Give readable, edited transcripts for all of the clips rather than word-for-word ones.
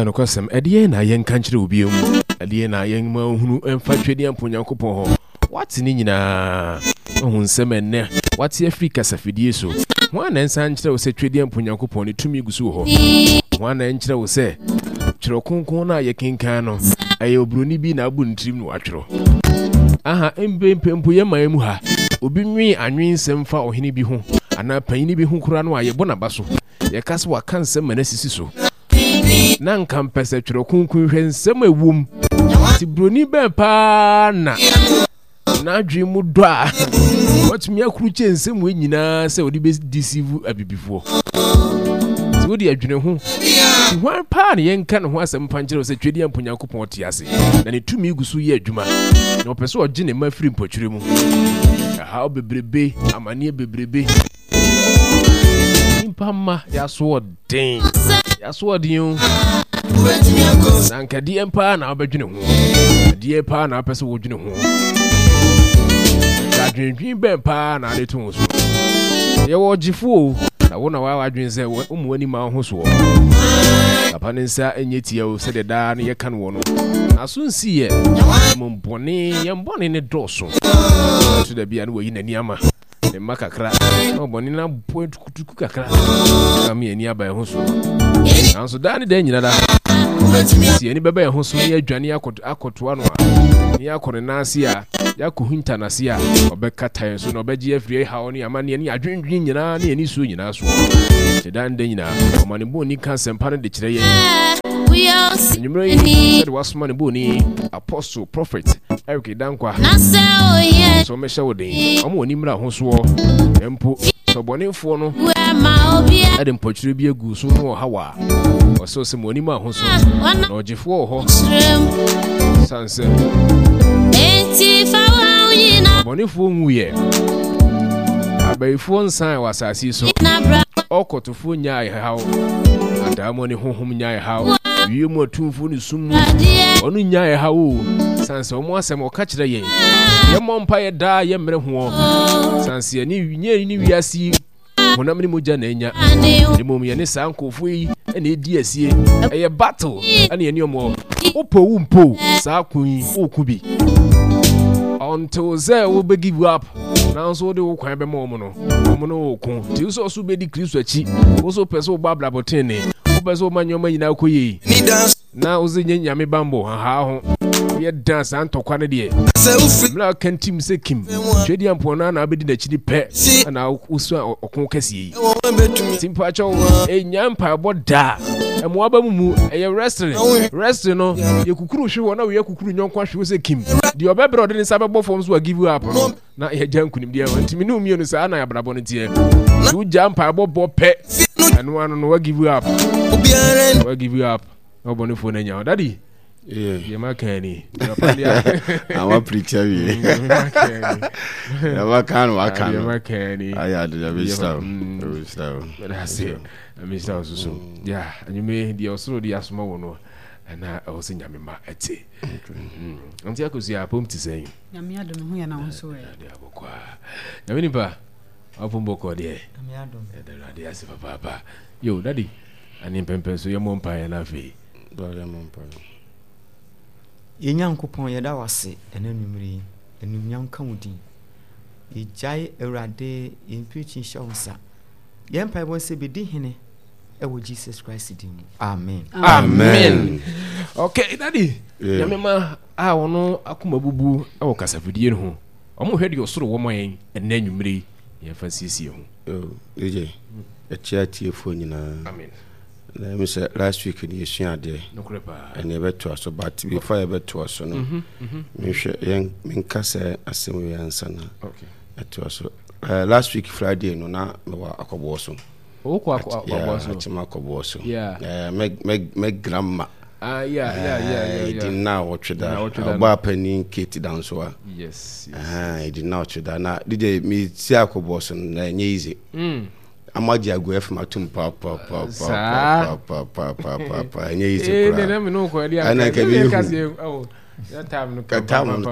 Nokwasɛm, ɛdeɛn na yɛnka nkyerɛ wo bio? Ɛdeɛn na yɛmma wohunu mfa Twedeɛmpo Nyankopɔn hɔ? Woate ne nyinaa. Woahu nsɛm a ɛnnɛ woate afiri kasafidie so. Hwan na ɛnsan nkyerɛ wo sɛ Twedeɛmpo Nyankopɔn ne tumi gu so wɔ hɔ? Hwan na ɛnkyerɛ wo sɛ Twerɛ Kronkron no a yɛkenkan no, ɛyɛ oburoni bi na abu ne tirim na watwerɛ? Aha, mprempren mpo yɛn man mu ha, obi nwen anwensɛm fa ɔhene bi ho anaa panyini bi ho koraa no a, yɛbɔ n'aba so. Yɛka sɛ waka nsɛm ma no asisi so. Na nka mpɛ sɛ Twerɛ Kronkron hwɛ nsɛm a ɛwom. Nti buroni bɛn paa na n'adwene mu dɔ a watumi akurukye nsɛm wei nyinaa sɛ ɔde bɛdisivu abibifoɔ? Nti wode adwene ho. Nti hwan paa na yɛnka ne ho asɛm mfa nkyerɛ wo sɛ Twedeɛ mpo Nyankopɔn te ase na ne tumi gu so yɛ adwuma na ɔpɛ sɛ ɔgye ne mma firi mpɔkyerɛ mu. Ɛhaw bebrebe, amanneɛ bebrebe. Nipa mma yɛasoɔden. Yɛasoɔden o. Na nka deɛ paa na wobɛdwene ho. Deɛ paa na wopɛ sɛ wodwene ho. Nka adwendwen bɛn paa na ade to wo so. Yɛwɔ ɔgyefo o. Na wo na woayɛ w'adwene sɛ womu w'ani ma wo ho soɔ. Papa ne nsa nyɛ tia o sɛdeɛ daa no yɛka no wɔ no. N'aso nsiiɛ. Mmom bɔne, yɛn bɔne ne dɔɔso. Ɛto da bi a na wayi n'ani ama. Ne mma kakra na ɔbɔne no abɔ tukutuku kakra na ama ani aba ɛho so. Nanso daa ne daa nyina da, sɛ yɛn ani bɛba ɛho so na yɛadwane akɔtoa no a, na yɛakɔ ne nan ase a, yɛakɔhinta n'ase a, ɔbɛkata yɛn so na ɔbɛgye afiri haw ne amanneɛ ne adwendwen nyinaa ne anisuo nyinaa soɔ. Nti daa ne da nyinaa, ɔma ne bɔni ka asɛmpa no de kyerɛ yɛn. Anwummerɛ yi, sɛde wasoma ne bɔni, Apostle, Prophet Eric Dankwa, sɛ ɔmmɛhyɛ wo den, ɔma w'ani mmra ho soɔ, mpo sɛ ɔbɔnefoɔ no de mpɔkyerɛ bi agu so no ɔhaw a, ɔsɛ sɛ mo anim aho so, na ɔgyefoɔ wɔ hɔ, sane sɛ ɔbɔnefoɔ nwuiɛ, abayifoɔ nsan wɔ asase yi so, ɔkɔtofoɔ nyaa ɛhaw, adaemone honhom nyaa ɛhaw, wiem atumfoɔ ne sum mu, ɔno nyaa ɛhaw o, sane sɛ wɔn asɛm ɔka kyerɛ yɛn, yɛmmɔ mpaeɛ daa yɛmmerɛ hoɔ, sane sɛ yɛne nyɛ ne wiase yi honam ne mogya na anya, na mmom yɛne saa nkurɔfoɔ yi na ɛdi asie, ɛyɛ battle ɛne yɛne ɔmo wopɛ wo mpo saa ko yi woko bi until sɛ wobɛ give up nanso wode wo kwan bɛma ɔmo no. Wɔn ne wo ko. Nti wo sɛ ɔso bɛdi Kristo akyi. Wo so pɛ sɛ wobɔ abrabɔ tenene. Wopɛ sɛ woma nneɛma nyinaa kɔ yie. Na wo sɛ nyɛ nyame bambɔ hahaa ho. Woyɛ dan saa ntɔkwa no deɛ. Mmerɛ a woka ntim sɛ kim. Twɛdi ampɔn no na wobɛdi n'akyi no pɛ. Ɛna wosua ɔko kɛseɛ yi. Nti mpakyɛw ɛnya mpaebɔ daa. Ɛmoa ba mu mu ɛyɛ wrestling. Wrestling no yɛkukuru hwe hɔ na woyɛ kukuru nyɔnko ahwe wo sɛ kim. Deɛ ɔbɛbrɛ ɔde ne nsa bɛbɔ fam so a give up no. Na yɛgya nkunimdeɛ hɔ. Nti me ne wo mmienu saa na abrabɔ no teɛ. Nti wogya mpaebɔ bɔ pɛ, ɛno ano no wa give up. Wa give up. Na ɔbɔnefoɔ no anya wo. Daddy, deɛ maka ni. Awa preacher wie. Deɛ maka no waka no. Deɛ maka ni. Ayɛ ade deɛ bɛhyira wo. Bɛhyira wo. Mɛda ase. Mɛhyira wo soso. Ya, anwummerɛ deɛ ɔsoro de asoma wo no, ɛna ɛwɔ sɛ Nyame ma ɛte. Nti akosua apom te sɛn? Nyame adom ho yɛ na wo nso ɛ. Ade abɔkɔ a. Nyame nipa apom bɔkɔ deɛ. Nyame adom. Ɛda Awurade ase papaapa. Yo daddy ane mpɛmpɛn so yɛmmɔ mpaeɛ na afei. Brother yɛmmɔ mpaeɛ. Yɛn Nyankopɔn yɛda wo ase ɛnɛ anwummere yi. Anuonyam nka wo din. Yɛgyae Awurade yɛn preaching hyɛ wo nsa. Yɛn mpaebɔ sɛ bɛdi hene ɛwɔ Jesus Christ din mu. Amen. Amen. Okay, daddy. Yeah. Nyame ma a wɔn akoma bubu wɔ kasafidie no ho. Wɔn hwɛ deɛ ɔsoro wɔ ma yɛn ɛnɛ anwummere yi. Yɛn fa nsiesie ho. Oh, DJ, ɛkyɛ atiefoɔ nyinaa. Amen. Na ɛmu sɛ last week no yɛsua adeɛ. Nokorɛ paa. Ɛne yɛbɛtoa so but before yɛbɛtoa so no, mehwɛ yɛn menka sɛ asɛm wei ansa na ɛtoa so. Uh, last week Friday no na mewɔ akɔboɔ so. Wokɔ akɔboɔ so. Akyem akɔboɔ so. Yeah. Uh, me me me grandma. Ah yeah yeah yeah yeah. Ɛdi na ɔtwe da. Ɔbaa panin Kate Dansoa. Yes. yes. Ɛdi na ɔtwe da na DJ mi si akɔboɔ so no na ɛnyɛ easy. Mm. Ama gye agu ɛfam atum pa pa pa pa pa pa pa pa pa pa ɛnyɛ easy eh, koraa. Ɛna nka bi ehu. Time no time no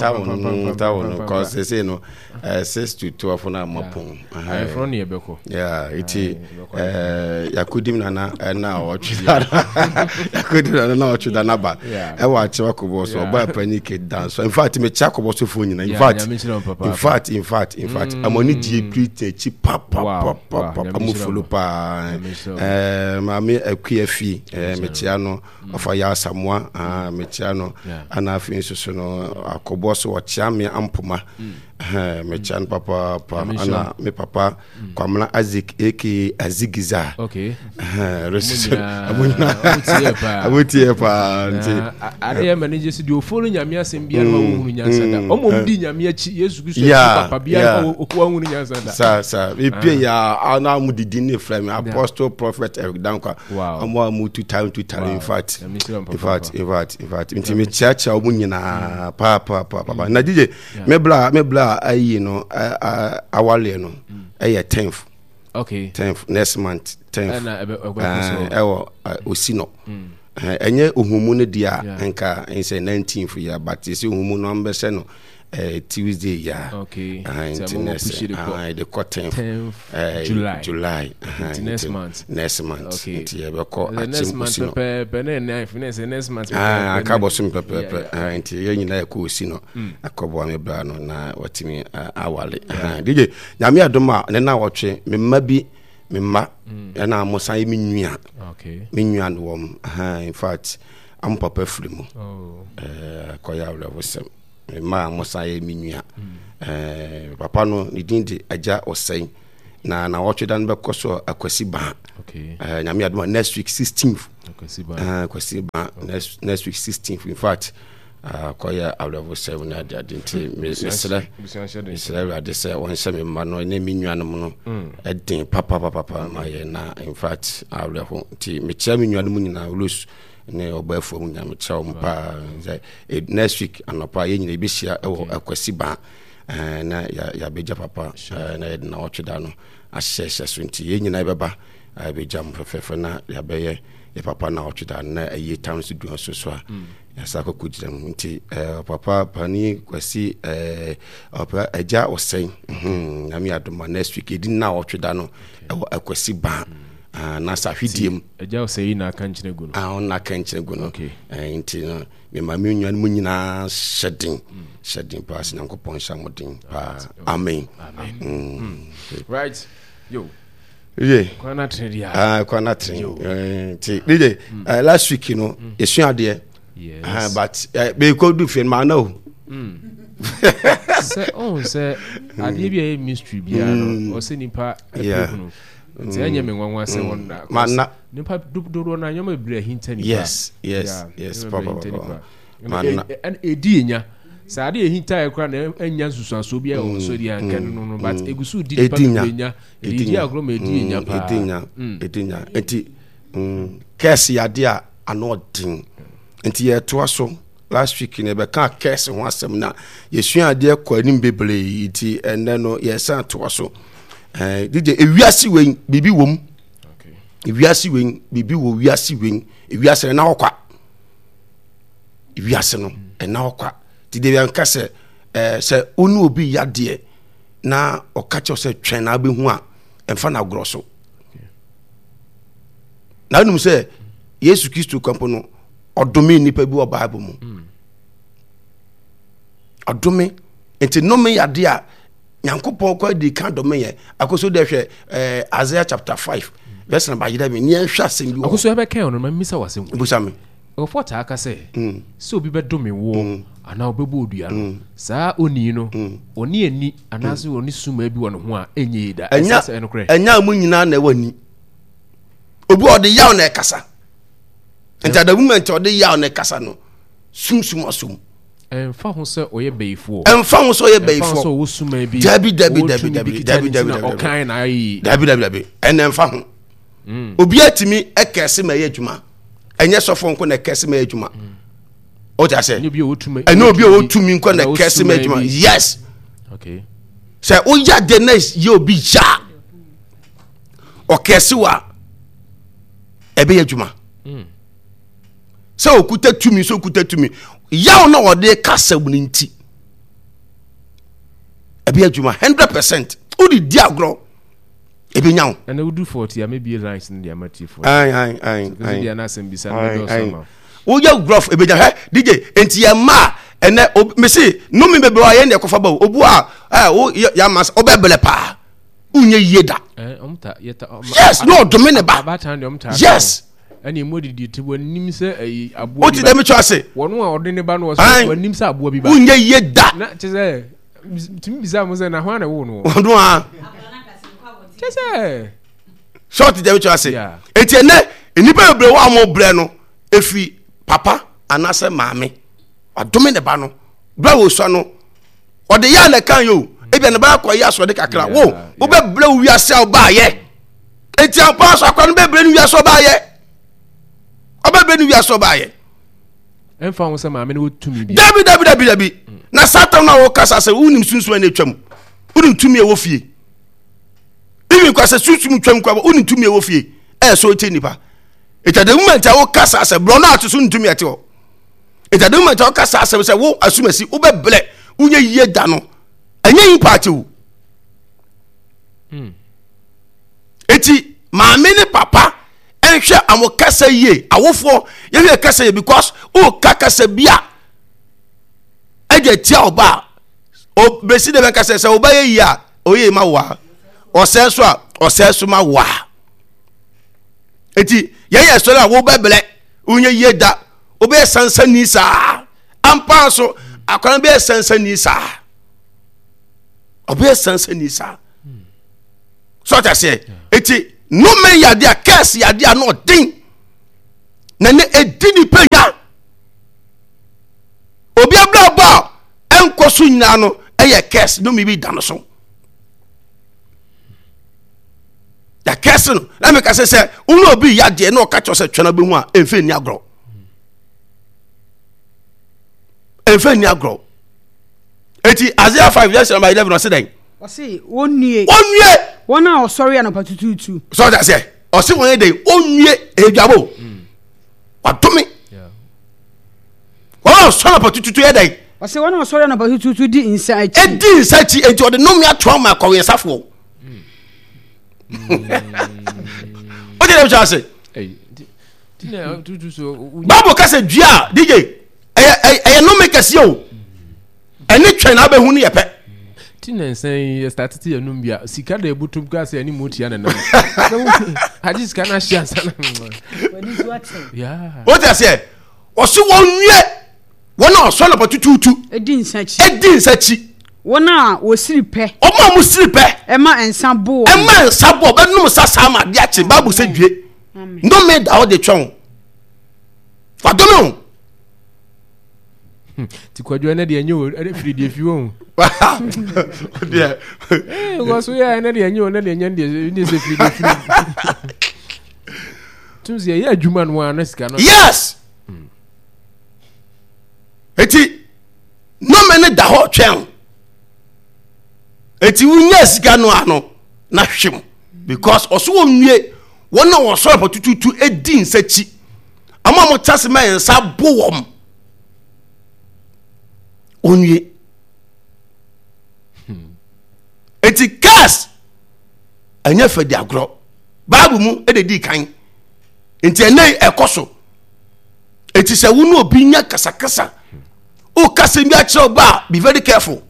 time no cause they say no 6 to 12 na mapon. Ayeforo ne yɛbɛkɔ. Yeah, iti eh yakodim nana na ɔtwe da. Yakodim nana na ɔtwe da na ba. Ɛwɔ akyewa kɔbɔ so ɔba panyin ke dan so. In fact, me kya kɔbɔ so fo nyina. In fact, in fact, in fact, in fact, amoni die preach akyi pa pa pa pa pa amu follow pa. Eh maame akua fi eh me kyia no. Ɔfa yɛ asamoa ah mekyia no. Ana afei nso so no akɔbɔ so ɔkyia me ampoma. Mm. Mekyia no papaapa. Ana me papa mm. Kwamina Isaac aka Azigiza. Okay. Amotie paa nti. Adeɛ ma ne gye so deɛ ofo no nyame asɛm biara ma wɔhunu nyansa da. Ɔmo mm. di nyame akyi Yesu Kristo akyi papa biara ma wɔhunu nyansa da. Sa sa epie ya ana mo didi ne frɛ me Apostle Prophet Eric Dankwa. Wow. Ɔmo a mo tu time tu tare in fact. In fact in fact in fact nti me kyerɛkyerɛ ɔmo nyinaa paa paa paa paa. Na DJ me bla me bla ayi no awaleɛ no ɛyɛ 10th. Okay. 10th next month 10th. Ɛwɔ osi no. Ɛnyɛ ohumu no deɛ a nka nsɛ 19th yɛ but sɛ ohumu no ambɛsɛ no Tuesday ya. Okay. Nti next de kɔ 10th July. July. Nti next month. Next month. Okay. Nti yɛbɛkɔ akyem next month pɛpɛɛpɛ na ɛnɛ afei na ɛsɛ next month pɛpɛɛpɛ. Aka bɔ so pɛpɛɛpɛ. Nti yɛn nyinaa yɛkɔ osi no. Akɔboa me bra no na watumi awale. DJ Nyame adom a ne na wɔtwe me mma bi me mma ɛna mo san yɛ me nua. Okay. Me nua no wɔm. In fact, am papa firi mu. Oh. Kɔyɛ awerɛhosɛm. Me mma a wɔsan yɛ me nua. Mm. Papa no ne din de Agya Ɔsɛe. Na na wɔtwe da no bɛkɔ so Akwasi Baa. Okay. Nyame adom a next week 16th. Akwasi Baa. Akwasi Baa okay. next next week 16th. In fact, kɔyɛ awerɛhosɛm ne ade ade nti mesrɛ mesrɛ Awurade sɛ wɔnhyɛ me mma no ne me nuanom no ɛden papapapapa ma yɛ na in fact awerɛho nti mekyerɛ me nuanom nyinaa Rose ne ɔbaafoɔ mu nyinaa mekyerɛ wɔn paa sɛ eh, next week anɔpa yɛn nyinaa yɛbɛhyia wɔ akwasi baa eh, na yɛabɛgya papa eh, na yɛde nawɔtwe da no ahyehyɛhyɛ so nti yɛn nyinaa yɛbɛba yɛbɛgya mo fɛfɛɛfɛ na yɛabɛyɛ yɛ papa nawɔtwe da no na ayie tam so dua so so a mm. yɛasa akɔkɔ gyina mu nti papa pani kwasi ɔpɛ agya ɔsɛn hmm, nyame adoma next week yɛdi nawɔtwe da no ɛwɔ akwasi baa mm. Ah, na sa hwidie mu. Agya ɔsɛ yi na aka nkyene gu no. Ah, ɔno na aka nkyene gu no. Okay. Eh, nti no, me ma me nua no mu nyinaa hyɛ den. Mm. Hyɛ den paa, sɛ Nyankopɔn nhyɛ mo den paa. Amen. Amen. Mm. Mm. Right. Yo. Ye. Kwan na tene dia. Ah, kwan na tene. Eh, nti, DJ, mm. eh, last week no, mm. yɛsua adeɛ. Yes. Uh, but uh, bɛkɔ du fie no maa na o. Mm. Sɛ ɔn sɛ adeɛ bi a ɛyɛ mystery biara no, mm. ɔsɛ nipa ɛpɛ Nti ɛnyɛ me nwanwa sɛ wɔn da. Ma na. Nipa dodoɔ na nneɛma bebree ahinta nipa. Yes yes yes papa papa. Ma na. Ɛdi enya. Sɛ ade ehinta yɛ koraa na ɛnya nsusuansoɔ bi a ɛwɔ so deɛ anka no no but egu so di nipa bebree nya. Ɛdi di agorɔ ma ɛdi enya paa. Ɛdi nya ɛdi nya nti kɛse yɛ adeɛ a ano ɔden nti yɛtoa so. Last week no yɛbɛkaa curse ho asɛm na yɛsua adeɛ kɔ anim bebree nti ɛnɛ no yɛsan toa so. Eh, DJ, ewiase wei biribi wɔ mu. Ewiase wei biribi wɔ wiase wei. Ewiase no ɛna hɔ kwa. Ewiase no ɛna hɔ kwa. Ti de yɛn ka sɛ ɛɛ sɛ wo ne obi yadeɛ na ɔka kyerɛ sɛ twɛn na abɛhu a ɛmfa na agorɔ so. Na wonim sɛ Yesu Kristo kampo no ɔdome nnipa bi wɔ bible mu mm. ɔdome nti nnome yɛ adeɛ a nyankopɔn kɔ adi ka dome yɛ akoso dɛ hwɛ eh, Isaiah chapter 5 verse number 11 ne yɛnhwɛ asɛm bi wɔ akoso ɛbɛkɛn ɔno ma mmisa wɔ asɛm busa me nkurɔfoɔ taa ka sɛ mm. sɛ obi bɛdome woɔ mm. anaa ɔbɛbɔ odua no mm. saa onii no ɔne ani anaasɛ ɔne suma bi wɔ ne ho a ɛnyɛ yi da ɛnyɛ ɛnyɛ mu nyinaa na ɛwɔ ani obi ɔde yaw na ɛkasa nti at the moment ɔde yaw na ɛkasa no sumsum asom. ɛnfa ho sɛ ɔyɛ bɛyifoɔ. ɛnfa ho sɛ ɔyɛ bɛyifoɔ. ɛnfa ho sɛ ɔwɔ suma bi. dabi dabi dabi dabi dabi dabi dabi ɔkan na ayɛ yi. dabi dabi dabi ɛnna ɛnfa ho. Mm. obi atumi ɛkɛse ma ɛyɛ adwuma ɛnyɛ sɔfo nko na ɛkɛse ma ɛyɛ adwuma. Mm. o ti ase. ɛnyɛ obi a ɔwɔ ɛnyɛ obi a ɔwɔ tumi nko na ɛkɛse ma adwuma yes. Okay. sɛ woyɛ ade na yɛ obi ya ɔkɛse wa. ɛbɛyɛ adwuma hmm. Sɛ okuta tumi, sɛ okuta tumi. Yaw na ɔde kasa mu no nti. Ɛbɛyɛ adwuma 100%. Wode di agorɔ. Ɛbɛnya wo. Ɛnna wodu 40 a mebie lines no de ama tiefoɔ. Ayi ayi ayi. Sɛ deɛ n'asɛm bisa no bɛdɔɔso ama. Woyɛ gruff ɛbɛnya hɛ DJ nti yɛ mma a ɛnɛ mesi nnome bebree a yɛn deɛ kɔfa ba o obu a ɛ wo yɛ ama sɛ ɔbɛbrɛ paa wonyɛ yie da. Yes na ɔdome ne ba. Yes. Ɛne emu adidi te wɔnim sɛ ɛyi aboa bi ba. Wote dɛm twa ase. Wɔn a ɔde ne ba no wɔsɛ wɔnim sɛ aboa bi ba. Wonyɛ yie da. Na kyɛ sɛ tumi bisa mo sɛ na hwan na ɛwɔ no. Ɔno a. Kyɛ sɛ. Sɛ ɔte dɛm twa ase. Eti ɛnɛ nnipa bebree wɔ a wɔn brɛ no efi papa anaasɛ maame wadome ne ba no bere a wɔsua no ɔde yɛ a na ɛka yɛ o ebia ne ba akɔ yɛ asoɔde kakra wo wobɛbrɛ wo wiase a wobaayɛ eti ampa so akora no bɛbrɛ no wiase ɔbaayɛ ɔbɛbrɛ no wiase ɔbaayɛ. Ɛmfa ho sɛ maame no wɔ tumi bi. Dabi dabi dabi dabi na satan no a wɔkasa sɛ wonim sunsum a na atwam wonim tumi a ɛwɔ fie even kwa sɛ sunsum twam kwa wonim tumi a ɛwɔ fie ɛyɛ so ɛkyɛ nipa ɛtwa the moment a wokasa sɛ borɔ no ato so ntumi ɛte hɔ ɛtwa the moment a wokasa asɛm sɛ wo asumasi wobɛbrɛ wonyɛ yie da no ɛnyɛ impact o Eti maame ne papa nhwɛ ɔmo kasa yie awofoɔ yɛhwɛ kasa yie because woka kasa bi a ɛde atia ɔba a obesi de bɛka sɛ sɛ ɔba yɛ yie a ɔyɛ ma wo a ɔsɛe so a ɔsɛe so ma wo a eti yɛyɛ sɔrɔ a wobɛbrɛ wonyɛ yie da wobɛyɛ sansani saa ampa so akwadaa bɛyɛ sansani saa ɔbɛyɛ sansani saa. So ɔte aseɛ eti nnome yɛ adeɛ a kɛse yɛ adeɛ a na ɔden na ne edi nipa nya obi abrabɔ a ɛnkɔ so nyinaa no ɛyɛ kɛse nnome bi da no so na kɛse no na meka sɛ sɛ wone obi yɛ adeɛ na ɔka kyerɛ sɛ twɛn abɛhu a ɛmfa nni agorɔ ɛmfa nni agorɔ eti Isaiah 5 verse number 11 ɔse dɛn Ɔse, Wɔnnue. Wɔnnue. Wɔn a wɔsɔre anɔpa tutuutu. Sɛ ɔte aseɛ, ɔse wɔn yɛ dɛn? Wɔnnue, ɛyɛ mm. Wadome. Wɔn a wɔsɔre anɔpa tutuutu yɛ dɛn? Ɔse wɔn a wɔsɔre anɔpa tutuutu di nsa akyi. Edi nsa akyi, enti ɔde nnome ato ama akɔwensafoɔ. Wote dɛm kyerɛ ase? Bible ka sɛ dua a DJ ɛyɛ ɛyɛ nnome kɛseɛ o. Ɛne twɛn na abɛhu no yɛ pɛ. Ti na nsa yi yɛ start ti yɛ num bia sika da ebutum kura sɛ ɛne mu tia ne nam. Agye sika na ahyɛ ansa na. Wote aseɛ ɔse wɔn nwie wɔn a ɔsɔ nɔpɔ tutuutu. Edi nsa akyi. Edi nsa akyi. Wɔn a wɔsiri pɛ. Wɔn a wɔsiri pɛ. Ɛma nsa bo wɔn. Ɛma nsa bo ɔbɛnum nsa saa ma adeɛ akye baabu sɛ due. Nnome da hɔ de twɛn o. Wadome o. Ti kwadwo ɛnɛ deɛ ɛnyɛ o ɛnɛ firi deɛ fi wɔn. Deɛ. Ee wɔ so yɛ ɛnɛ deɛ ɛnyɛ o ɛnɛ deɛ ɛnyɛ deɛ ɛnyɛ sɛ firi deɛ firi. Tum sɛ ɛyɛ adwuma no ara na sika no. Yes. Eti nnome no da hɔ twɛn. Eti wonya sika no ano na hwem because ɔso wɔn nwie wɔn a wɔsɔrɔ pɔtututu edi nsa akyi. Wɔn a wɔte ase ma yɛn nsa bo wɔn. Onwie. Eti curse ɛnyɛ fɛ di agorɔ. Bible mu ɛna di kan. Nti ɛnɛ ɛkɔ so. Eti sɛ wo ne obi nya kasakasa, o kasa bi akyerɛ ɔba a, be very careful.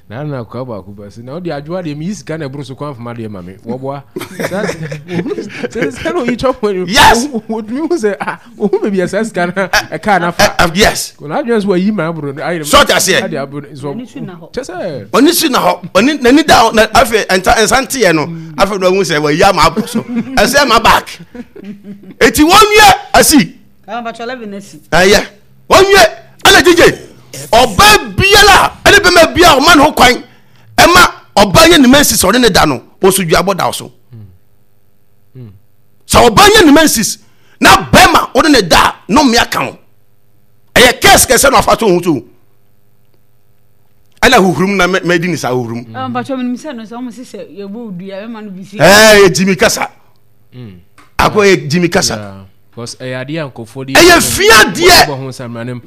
Na na akwa baako ba se na ɔde adwoa deɛ meyi sika na ɛboro so kwan fama deɛ ma me wɔboa sɛ sika na oyi twɛ pɔn yes wɔtumi hu sɛ ah ohun baabi a saa sika na ɛkaa na fa yes na adwene so wayi ma aboro ayɛ sɔɔte aseɛ ade aboro so kyɛ sɛ ɔne si na hɔ ɔne n'ani da na afei nsa nsa nteɛ no afei na ɔhu sɛ wayi ama aboro so ɛsɛ ma back eti wɔn wie asi ɛyɛ wɔnwie ɛna gyegye ɔbaa biara ɛne bɛma biara ɔma ne ho kwan ɛma ɔbaa nyɛ ne mensis ɔne ne da no wɔso duabɔ da so sɛ ɔbaa nyɛ ne mensis na bɛma ɔne ne da no mmea ka ho ɛyɛ kɛse kɛse na ɔfa so ho so ɛna huhurum na mɛdi ne saa huhurum. ɛɛ jimi kasa akɔ yɛ jimi kasa. Because ɛyɛ adeɛ a nkurɔfoɔ de ɛyɛ fia deɛ. Bɔ ho nsamra no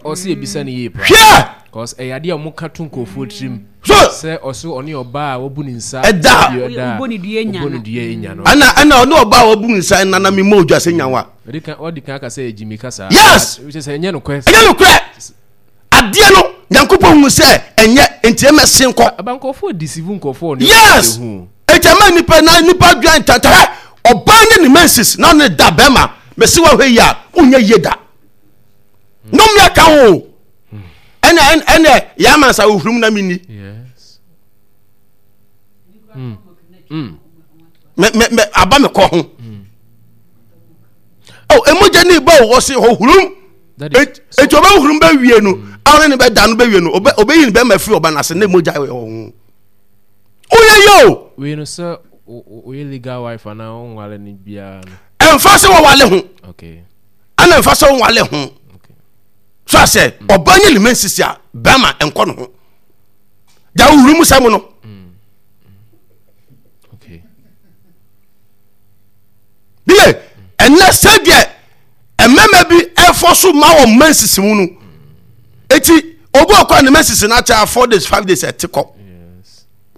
ɔsɛ ebisa ne yie paa. Hwɛ. Because ɛyɛ adeɛ a wɔn ka to nkurɔfoɔ tirim. So. Sɛ ɔso ɔne ɔbaa a wabu ne nsa. Ɛda. Ɛda. Ɔbɔ ne dua nya no. Ɔbɔ ne dua nya no. Ɛna ɛna ɔne ɔbaa a wabu ne nsa nana mi mɔ odwa sɛ nyawa. Ɔdi kan ɔdi kan aka sɛ gyimi kasa. Yes. Sɛ ɛnyɛ nokorɛ. Ɛnyɛ nokorɛ. Adeɛ no Nyankopɔn hu sɛ ɛnyɛ nti ɛmɛ sen kɔ. Aba nkurɔfoɔ deceive nkurɔfoɔ ne Yes. Nti ɛma nipa na nipa dwan tata hɛ ɔbaa nye ne menses na ɔne da bɛrima mesi wa hwɛ yi a wonyɛ yie da. Nnome aka ho. Ɛnɛ ɛnɛ yɛ ama nsa ohurum na mi ni. Yes. Mm. Mm. Me me me aba me kɔ ho. Mm. Oh, emogya ni ba o ɔsi ohurum. Eti ɔbɛ hurum bɛ wie no, a ɔne ne bɛ da no bɛ wie no, ɔbɛ ɔbɛ yi ne bɛrima firi ɔba n'ase ne mogya wɔ ho. Oyɛ yɛ o. Wei no sɛ oyɛ legal wife anaa ɔnwale no biara no. Ɛnfa sɛ wɔwale ho. Okay. Ɛna ɛnfa sɛ wɔwale ho. Okay. So asɛ ɔbaa nye ne mɛ nsisi a bɛrima nkɔ ne ho. Gya ohuru mu sɛm no. Okay. Bie ɛnɛ sɛdeɛ mmarima bi ɛfɔ so ma wɔn mma nsisi mu no eti obi ɔkɔ a ne mma nsisi no akyɛ 4 days 5 days ɛte kɔ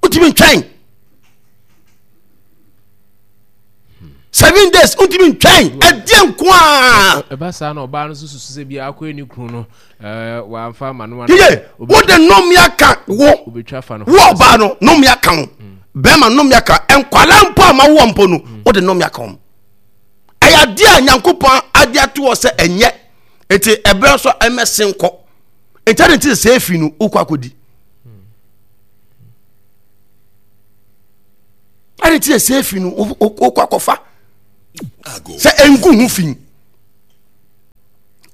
wotumi ntwɛn 7 days wotumi ntwɛn ɛdeɛ nko a. ɛba saa na ɔbaa no nso susu sɛ bi akɔyɛ ne kunu no ɛɛ wamfa ama no. yie wode nnome aka wo wo ɔbaa no nnome aka wo bɛrima nnome aka nkwalaa mpo a ma woɔ mpo no wode nnome aka wɔn. Ɛyɛ adeɛ a Nyankopɔn ade ato hɔ sɛ ɛnyɛ. Nti ɛberɛ nso ɛmɛsen kɔ. Nti ade nti sɛ efi no wokɔ akɔdi. Ade nti sɛ efi no wokɔ akɔfa. Sɛ ɛngu ho fi.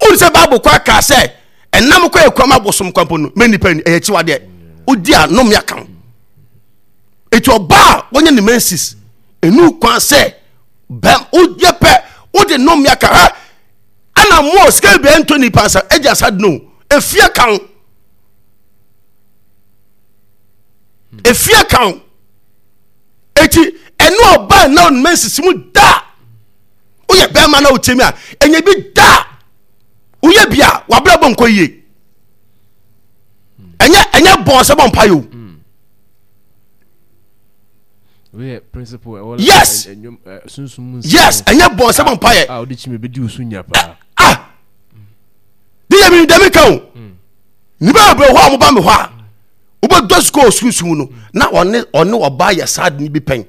Wone sɛ Bible kɔ aka sɛ ɛnam kɔ ɛkura ma abosom kwampo no mɛ nipa ni ɛyɛ akyiwadeɛ. Wodi a nnome aka ho. Eti ɔbaa a wɔnyɛ ne menses enu kwan sɛ bɛm woyɛ pɛ wode nnome aka ha ɛna mo sika bebree ntɔ nipa nsa agya sa no efie ka ho efie ka ho eti ɛne ɔbaa na ɔnum nsisi mu da woyɛ bɛrima na wotie mi a ɛnyɛ bi da woyɛ bi a wabrɛ bɔ nkɔ yie ɛnyɛ ɛnyɛ bɔn sɛ bɔ mpa yi o. Yes. Yes, ɛnyɛ bɔn sɛ bɔ mpa yɛ. A ɔde kyimi bɛ di osu nya paa. Ah. De yɛ mi dɛm ka o. Nipa bebree hɔ a wɔn ba mi hɔ a, wobɛdɔ sukuu sunsun no na ɔne ɔne ɔbaa yɛ saa de ne bi pɛn.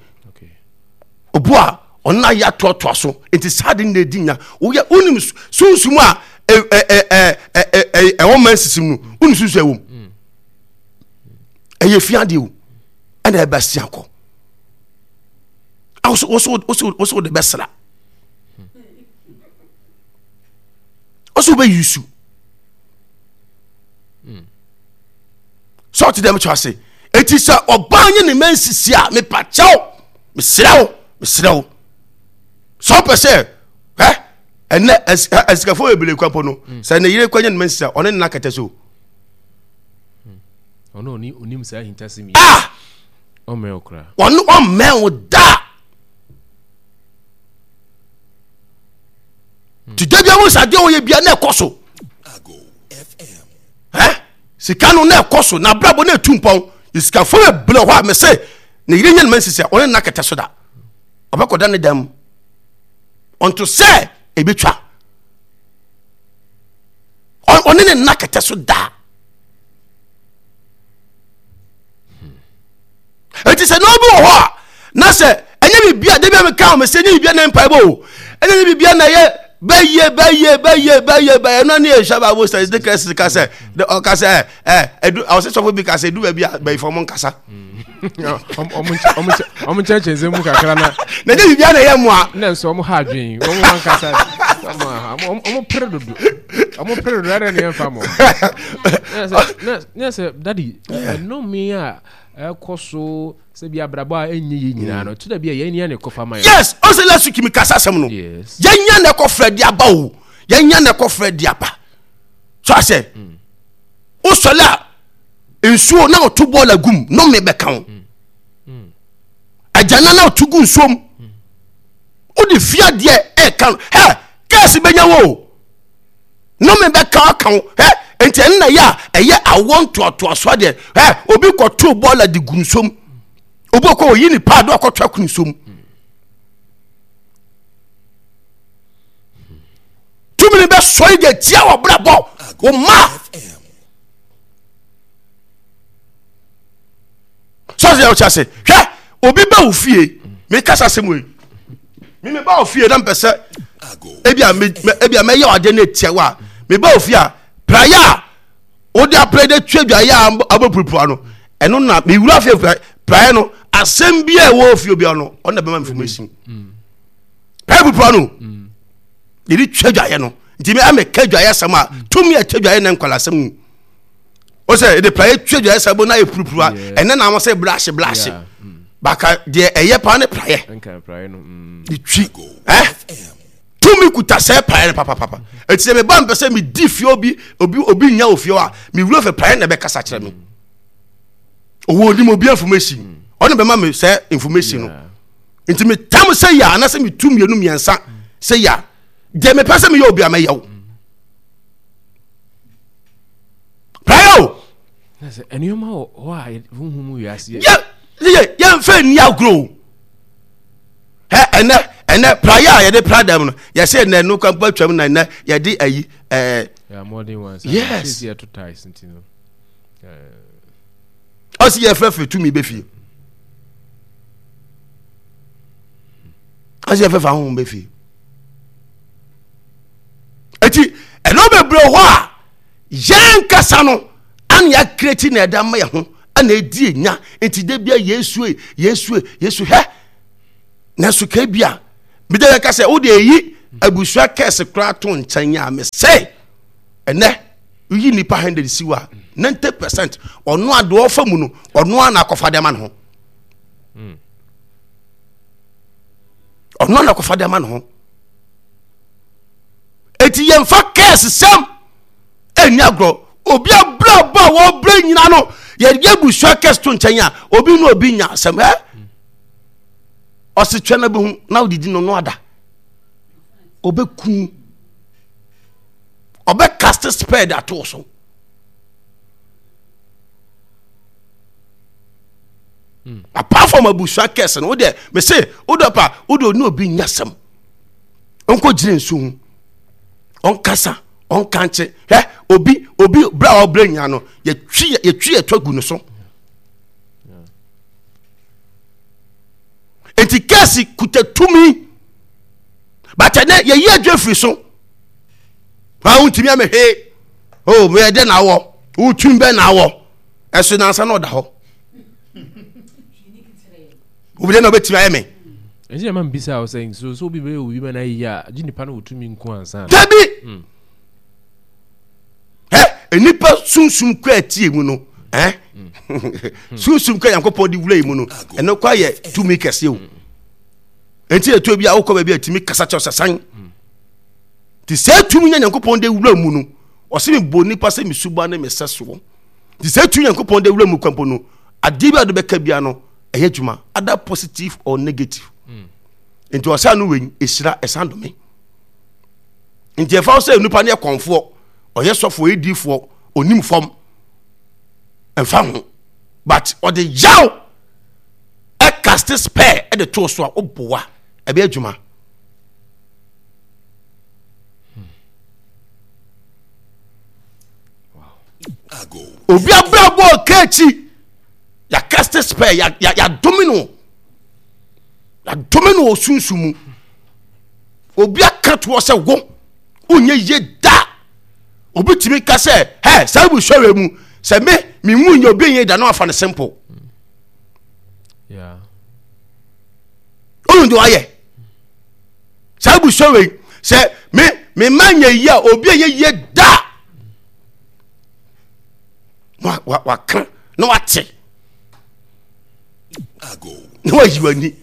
Obu a ɔno ayɛ atoatoa so nti saa de ne na edi nya. Woyɛ wonim sunsun a ɛ ɛ ɛ ɛ ɛ ɛwɔ mmaa nsisi mu no wonim sunsun ɛwɔ mu. Ɛyɛ fi adeɛ o. ɛna ɛbɛsi akɔ woso woso woso woso wode bɛsra woso wobɛ yusu sɛ ɔte dɛm kyɛ ase eti sɛ ɔbaa nye ne mɛ nsisi a mepa kyɛw mesrɛ wo mesrɛ wo sɛ ɔpɛ sɛ ɛ ɛnɛ ɛsikafo bebree kura mpo no sɛ ne yere kɔ nye ne mɛ nsisi a ɔne ne na kɛtɛ so. Ɔno ɔni onim saa ahintasɛm yi. Ah! Ɔmmɛn wo koraa. Ɔno ɔmmɛn wo da. Ti da bi ahu sɛ adeɛ ɔyɛ bia na ɛkɔ so. Ɛ sika no na ɛkɔ so na abrabɔ na ɛtu mpɔn. Sikafo yɛ bere hɔ a mese ne yere nyɛ ne ma nsisi a ɔne nna kɛtɛ so da. Ɔbɛkɔda ne dan mu. Ɔnto sɛ ebetwa. Ɔne ne nna kɛtɛ so da. Eti sɛ na obi wɔ hɔ a na sɛ ɛnyɛ biribi a dabi a meka wɔn sɛ ɛnyɛ biribi a na mpaebɔ o ɛnyɛ biribi a na ɛyɛ bɛyɛ bɛyɛ bɛyɛ bɛyɛ bɛyɛ ɛno ne yɛhwɛ bible studies ne kɛse ka sɛ ɔka sɛ ɛ ɛdu ɔsɛ sɔfo bi ka sɛ edu baabi a bɛyifo ɔmo nkasa. Ɔmo nkyɛnkyɛn nsɛm mu kakra na. Na ɛnyɛ biribi a na ɛyɛ mmoa. Na nso ɔmo ha adwene ɔmo ankasa ɔmo pere dodo ɔmo pere dodo ɛdɛ ne yɛn fa mo. Ne sɛ dadi ɛnome a ɛkɔ so sɛ bi abrabɔ a ɛnyɛ yɛ nyinaa no to da bi a yɛn nya ne kɔfa ma yɛn. Yes ɔsɛ last week mi kasa asɛm no yɛn nya ne kɔfrɛ de aba o yɛn nya ne kɔfrɛ de aba so asɛ wosɔle a nsuo na ɔto bɔɔl agum nome bɛka wo agyana na ɔto gu nsuo mu. Wode fie adeɛ ɛka no hɛ kɛɛse bɛnya wo o. Nnome bɛka aka wo hɛ nti ɛno na ɛyɛ a ɛyɛ awoɔ ntoatoaso adeɛ hɛ obi kɔto bɔɔla de gu nsuom obi kɔ oyi ne paado akɔto ako nsuom tumi no bɛsɔre de atia wɔ brabɔ wo ma sɔsɛ yɛ ɔkyɛ ase hwɛ obi ba wo fie mekasa asɛm wei me meba wo fie na mpɛ sɛ ebi a ebi a mɛyɛ ɔade no etia wa meba wo fie a praeɛ a wode apra de twa dwaeɛ a abɛpurupura no ɛno na mewura fie praeɛ no asɛm bi a ɛwɔ fie obiara no ɔno na bɛma information praeɛ purupura no yɛde twa dwaeɛ no nti me amɛka dwaeɛ asɛm a tumi a twa dwaeɛ na nkwala asɛm mu o sɛ yɛde praeɛ twa dwaeɛ sɛ bo na yɛ purupura ɛnɛ na wɔn sɛ brahye brahye baka deɛ ɛyɛ paa ne praeɛ de twi ɛ tumi kuta sɛ praeɛ no papapapa eti sɛ meba mpɛ sɛ medi fie obi obi obi nya ofie a mewura fɛ praeɛ na ɛbɛkasa kyerɛ me owó onim obi information ɔno bɛma me sɛ information no nti metam sɛ yɛ anasɛ metu mmienu mmiɛnsa sɛ yɛ deɛ mepɛ sɛ meyɛ obi a mɛyɛ wo praeɛ o. nneɛma wɔ hɔ a honhom mu wiase yɛ yɛ yɛmfa nni agorɔ o ɛ ɛnɛ ɛnɛ praeɛ a yɛde pra dɛm no yɛsɛ ɛnɛ no kwan pa twam na ɛnɛ yɛde ayi ɛɛ yes ɔsi yɛfrɛfrɛ tumi bɛ fie ɔsi yɛfrɛfrɛ ahohom bɛ fie eti ɛnɛ bebree hɔ a yɛn kasa no ana yɛakreti na ɛda ma yɛ ho ana ɛdi enya nti da bia yɛsue yɛsue yɛsu hɛ nanso ka bi a mede yɛka sɛ wode ɛyi abusua kɛse koraa to nkyɛn a mesɛ ɛnɛ woyi nnipa 100 si hɔ a 90 percent ɔno a deɛ ɔfa mu no ɔno a na akɔfa de ama ne ho hmm. ɔno a na akɔfa de ama ne ho eti yɛmfa kɛse sɛm ɛnni agorɔ obi abrabɔ a wɔbrɛ nyina no yɛde abusua kɛse to nkyɛn a obi ne obi nya asɛm ɛ ɔse twɛ no bɛhu na wodidi no no ada ɔbɛku ɔbɛkaste spɛd ato so hmm. apart from abusua kɛse no wodeɛ mese wode pa wode ɔne obi nya asɛm ɔnkɔgyina nsu ho ɔnkasa ɔnkankye hwɛ obi obi berɛ a ɔbrɛ nyina no yɛtwi yɛtwi yɛtɔ gu no so nti kɛse kuta tumi but ɛnɛ yɛyi adwa firi so maa wontumi amehwee o oh, meyɛ dɛ na awɔ wotumi bɛ na awɔ ɛso nansa na ɔda hɔ obi dɛ na ɔbɛtumi ayɛ me. Ɛnti na ma mbisa wo sɛ nso sɛ obi bɛyɛ obi ma no ayɛ yie a gye nipa no wɔ tumi nko ansa. Dabi! Hmm. Ɛ nipa sunsum kɔ atie mu no ɛ hmm. sunsum kɔ Nyankopɔn de wura yi mu no ɛno kɔ ayɛ tumi kɛse o. Ɛnti ɛtuo bi a wokɔ baabi a tumi kasa kyɛw sɛ san. Nti sɛ tumi nya Nyankopɔn de wura mu no ɔsɛ mebɔ nipa sɛ me suba ne me sɛ soɔ. Nti sɛ tumi Nyankopɔn de wura mu kwampo no adeɛ bi a wode bɛka bia no ɛyɛ adwuma either positive or negative mm. nti ɔsan no wei ɛhyira ɛsan dome nti ɛfa sɛ nipa no yɛ kɔnfoɔ ɔyɛ sɔfoɔ ɔyɛ diifoɔ onim fam ɛmfa ho but ɔde yaw ɛkaste spare ɛde too so a woboa ɛbɛyɛ adwuma obi abrabɔ ɔka akyi yɛakaste spɛ yɛadome no yɛadome no wɔ sunsun mu obi aka toɔ sɛ wo wonyɛ yie da obi tumi ka sɛ hɛ saa busua wei mu sɛ me menwu nyɛ obi nyɛ da na wafa no simple wohu deɛ wayɛ saa busua wei sɛ me me ma nyɛ yie a obi nyɛ yie da waka na wate na wayi w'ani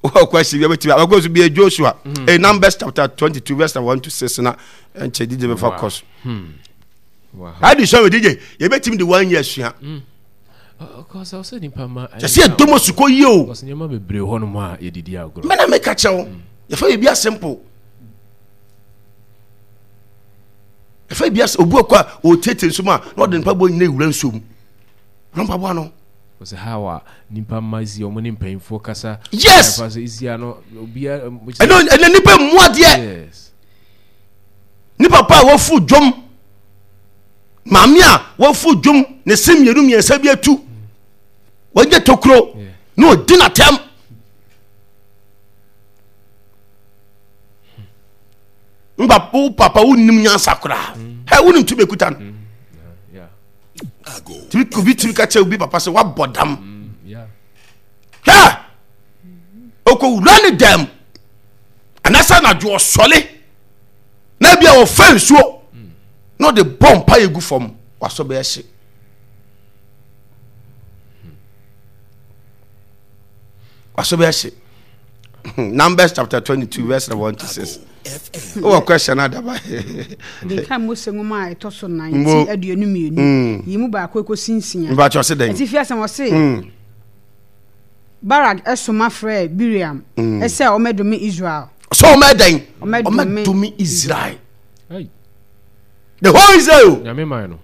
wɔ question bi abɛtumi abɛkɔ so bi Joshua mm. eh, Numbers chapter 22 verse 1 to 6 na ɛnkyɛ DJ bɛfa kɔ so adi sua wɔ DJ yɛbɛtumi de one year sua mm. Kyɛ sɛ yɛdɔ mu asukɔ yie o. Nneɛma bebree hɔ nom a yɛdidi agorɔ. Mena meka kyerɛ wo. Yɛfa biribi a simple. Yɛfa biribi a obi ɔkɔ a ɔretietie nsuo mu a na ɔde mpaboa nyina ewura nsuo mu. Ɔno mpaboa no. Ɔsɛ how a nipa mma si ɔmo ne mpanyinfoɔ kasa. Yes. Ɛfa sɛ esi ano obia. Ɛnɛ ɛnɛ nipa mu adeɛ. Yes. Nipa pa a wafu dwom. Maame a wafu dwom ne se mmienu mmiɛnsa bi atu. Wagye tokuro na ɔdi n'atɛm. Mba wo papa wonim nyansa koraa. Hɛ wonim tumi ekuta no. Tumi obi tumi ka kyerɛ obi papa sɛ wabɔ dam. Hwɛ okowura ne dɛm anaasɛ anadwo ɔsɔle na ebi a ɔfa nsuo na ɔde bɔ mpa egu fam wasɔ bɛyɛ hye. Wasɔ bɛyɛ hye. Numbers chapter 22 verse 1 to 6. Wowɔ question adaba. Kenkan Mose nwoma a ɛtɔ so nan ti 22 mm. yi mu baako ekosi nsia. Mbakyɛ ɔse dɛn? Atifi asɛm ɔse. Mm. Barak soma frɛɛ Bileam mm. sɛ ɔmmɛdome Israel. Sɛ ɔmmɛdɛn? Ɔmmɛdome Israel. The whole Israel.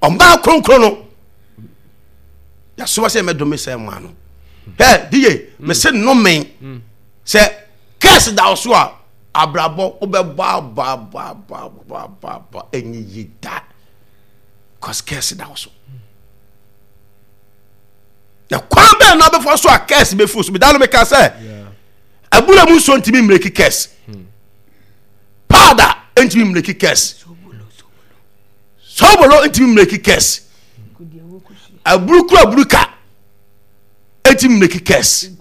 Ɔmbaa kronkron no. Yasoma sɛ ɛmɛdome sɛ mmaa no. Hɛ DJ, mese nnome sɛ kɛse da so a abrabɔ wobɛbɔ abɔ abɔ abɔ abɔ abɔ abɔ ɛnyɛ yie da. Cause kɛse da so. Na kwan bɛn na wobɛfa so a kɛse bɛfiri so meda no meka sɛ abura mu nsuo ntumi mmireki kɛse powder ntumi mmireki kɛse sobolo ntumi mmireki kɛse aburukuru aburuka ntumi mmireki kɛse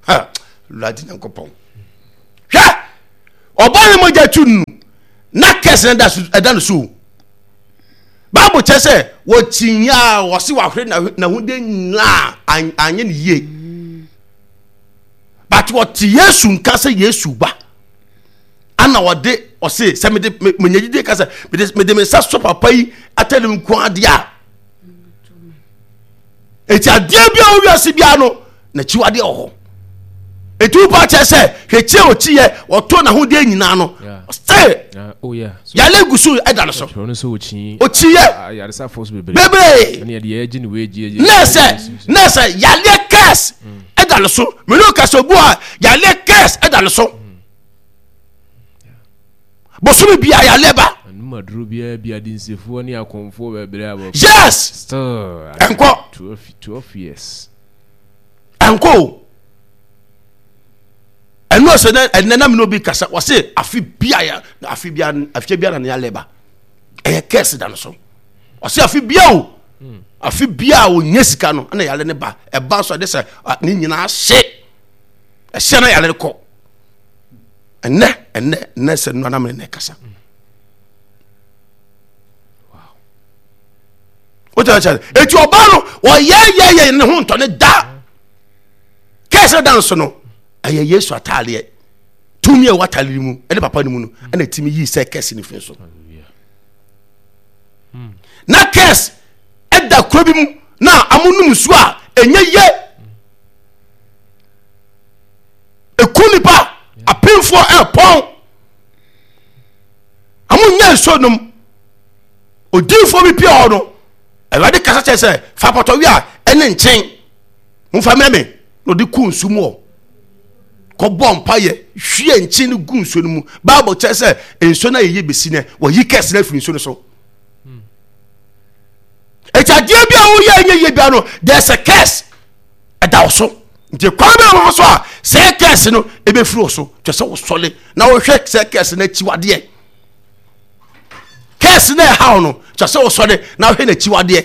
ha wurade nyankopɔn hwɛ ɔbaa ne mogya tu nu na kɛse no ɛda no so Bible kyerɛ sɛ wɔkyinyɛ a wɔse wahwere n'ahode nyinaa anyɛ ne yie. But wɔte Yesu nka sɛ Yesu ba. Ana wɔde ɔse sɛ mede menya gyidie ka sɛ mede mede me nsa sɔ papa yi atade nko adeɛ a. Eti adeɛ bi a wɔ wiase biara no n'akyiwadeɛ wɔ hɔ. Eti wo pa kyerɛ sɛ hwɛ kyi a ɔkyi yɛ ɔtɔ n'ahodeɛ nyinaa no sɛ oh, yale gu so ɛda no so ɔkyi yɛ bebree nɛɛsɛ nɛɛsɛ yaleɛ kɛs ɛda no so mene ɔka sɛ obu a yaleɛ kɛs ɛda no so bosome bia yaleɛ ba yes ɛnkɔ ɛnkɔ o ɛno sɛ ɛnɛ na mene obi kasa wɔse afe bia ya afe bia afe bia na ne alɛ ba ɛyɛ kɛse da no so ɔse afe bia o hmm. afe bia a ɔnya sika no ɛna yale ne ba ɛba so ɛde sɛ ne nyinaa hye ɛhyɛ na yale kɔ ɛnɛ ɛnɛ ɛnɛ sɛ nua na mene ne kasa hmm. Wokyɛ kyɛ eti ɔbaa no ɔyɛyɛyɛ ne ho ntɔ ne da kɛse da nso no ɛyɛ Yesu ataadeɛ tumi a ɛwɔ ataadeɛ mu ɛne papa no mu no ɛna ɛtumi yii sɛ kɛse no firi so na kɛse ɛda kuro bi mu na amonum nsuo a ɛnyɛ yie ɛku nipa apemfoɔ ɛpɔn amonyɛ nsuo nom Odiyifoɔ bi pia hɔ no, Awurade kasa kyerɛ sɛ, fa pɔtɔwe a ɛne nkyen momfa mmerɛ me na ɔde ku nsu mu hɔ kɔbɔ mpayɛ hwie nkyen no gu nsuo no mu. Bible kyerɛ sɛ nsuo no ayɛyɛ bɛsi nɛ wɔyi kɛse no afiri nsuo no so. Ɛti adeɛ bi a woyɛ ɛnyɛ yie bia no, there's a curse ɛda wo so. Nti kwan bɛn wɔn so a sɛ curse no ɛbɛfiri wo so kyerɛ sɛ wosɔle na wohwɛ sɛ curse no akyiwadeɛ. Kɛse na ɛhaw no kyɛ sɛ wosɔre na wohwɛ n'akyiwadeɛ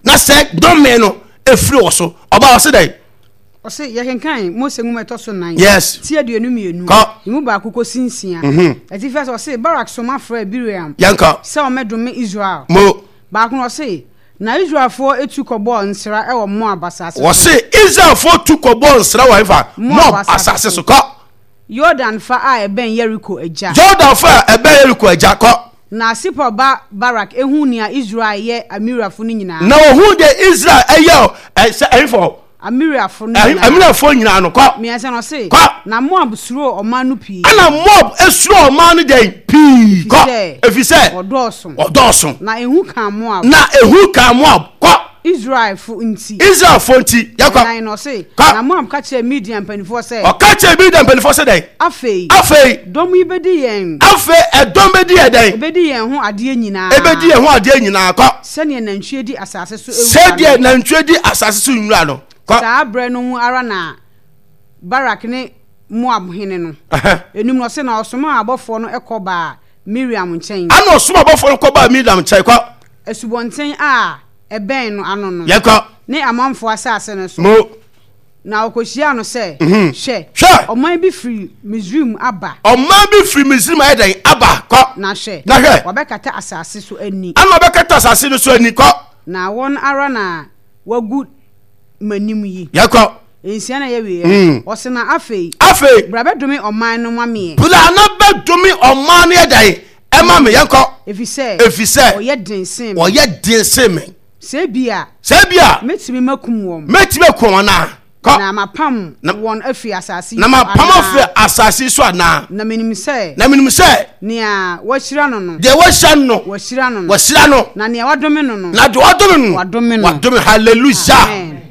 na sɛ dɔme no ɛfiri wɔ so ɔba ɔse dɛn? Ɔse yɛkenkan Mose nwoma ɛtɔ so nan yes ti 22 kɔ emu baako kɔsi nsia. Mm-hmm. Atifi ase ɔse Barak soma frɛɛ Bileam yɛnkɔ sɛ ɔmmɛdome Israel. Mo Baako no ɔse na Israelfoɔ tu kɔbɔɔ nsra wɔ Moab asase so. Wɔse Israelfoɔ tu kɔbɔɔ nsra wɔ hefa? Moab Moab asase asase so. so. Kɔ. Yordan fa a ɛbɛn Yeriko agya. Yordan fa a ɛbɛn Yeriko agya, kɔ. Na Sipor ba Barak huu nea Israel yɛ Amorifo no nyinaa. Na ohuu deɛ Israel yɛ Sɛ ɛhefo? Amiriafo no nyinaa. Amiriafo nyinaa no kɔ. Mmiɛnsa no ɔse. Kɔ. Na Moab suro ɔman no pii. Ɛna Moab suro ɔman no dɛn pii kɔ. Efisɛ. Wɔdɔɔso. Wɔdɔɔso. Na ehu kaa Moab. Na ehu kaa Moab kɔ. Israelfo nti. Israelfo nti yɛkɔ. Ɛnan no ɔse. Kɔ. Na Moab ka kyerɛɛ Midian mpanimfoɔ sɛ. Ɔka kyerɛɛ Midian mpanimfoɔ sɛ dɛn? Afei. Afei. Dɔm yi bedi yɛn. Afei ɛdɔm bedi yɛn dɛn? Ebedi yɛn ho adeɛ nyinaa. Ebedi yɛn ho adeɛ nyinaa kɔ. Sɛdeɛ nantwie di asase so nwura no. Sɛdeɛ nantwie di asase so nwura no. Kɔ. Saa berɛ no mu ara na Barak ne Moab hene no. Enum no, ɔse, na ɔsomaa abɔfoɔ no kɔ baa Miriam nkyɛn. Ɛna ɔsomaa abɔfoɔ no kɔ baa Miriam nkyɛn. Kɔ. Asubɔnten a ɛbɛn no ano no. Yɛnkɔ. Ne Amonfoɔ asase no so. Mo. Na ɔkɔhyiaa no sɛ, Mhm. Hwɛ, Hwɛ! ɔman bi firi Misraim aba. Ɔman bi firi Misraim ayɛ dɛn? Aba. Kɔ. Na hwɛ, Na hwɛ! wɔabɛkata asase so ani. Ɛna wɔbɛkata asase no so ani. Kɔ. Na wɔn ara na wɔagu m'anim yi. Yɛkɔ. Nsia na ɛyɛ wieɛ. Mm. Ɔse na afei. Afei. Bra bɛdome ɔman no ma meɛ. Bra na bɛdome ɔman no yɛ dɛn? Ɛma me. Yɛnkɔ. Efisɛ. Efisɛ. Wɔyɛ den sen me. Wɔyɛ den sen me. Sɛ ebia. Sɛ ebia. Mɛtumi makum wɔn. Mɛtumi akum wɔn anaa? Kɔ. Na mapam Na- wɔn afiri asase yi Na so mapam anaa? afiri asase yi so anaa? Na menim sɛ. Na menim sɛ. Nea wɔahyira no no. Deɛ wɔahyira no no. Wɔahyira no no. Wɔahyira no. Na nea wɔadome no no. Na deɛ wɔadome no no. Wɔadome no. Wɔadome. Hallelujah. Amen.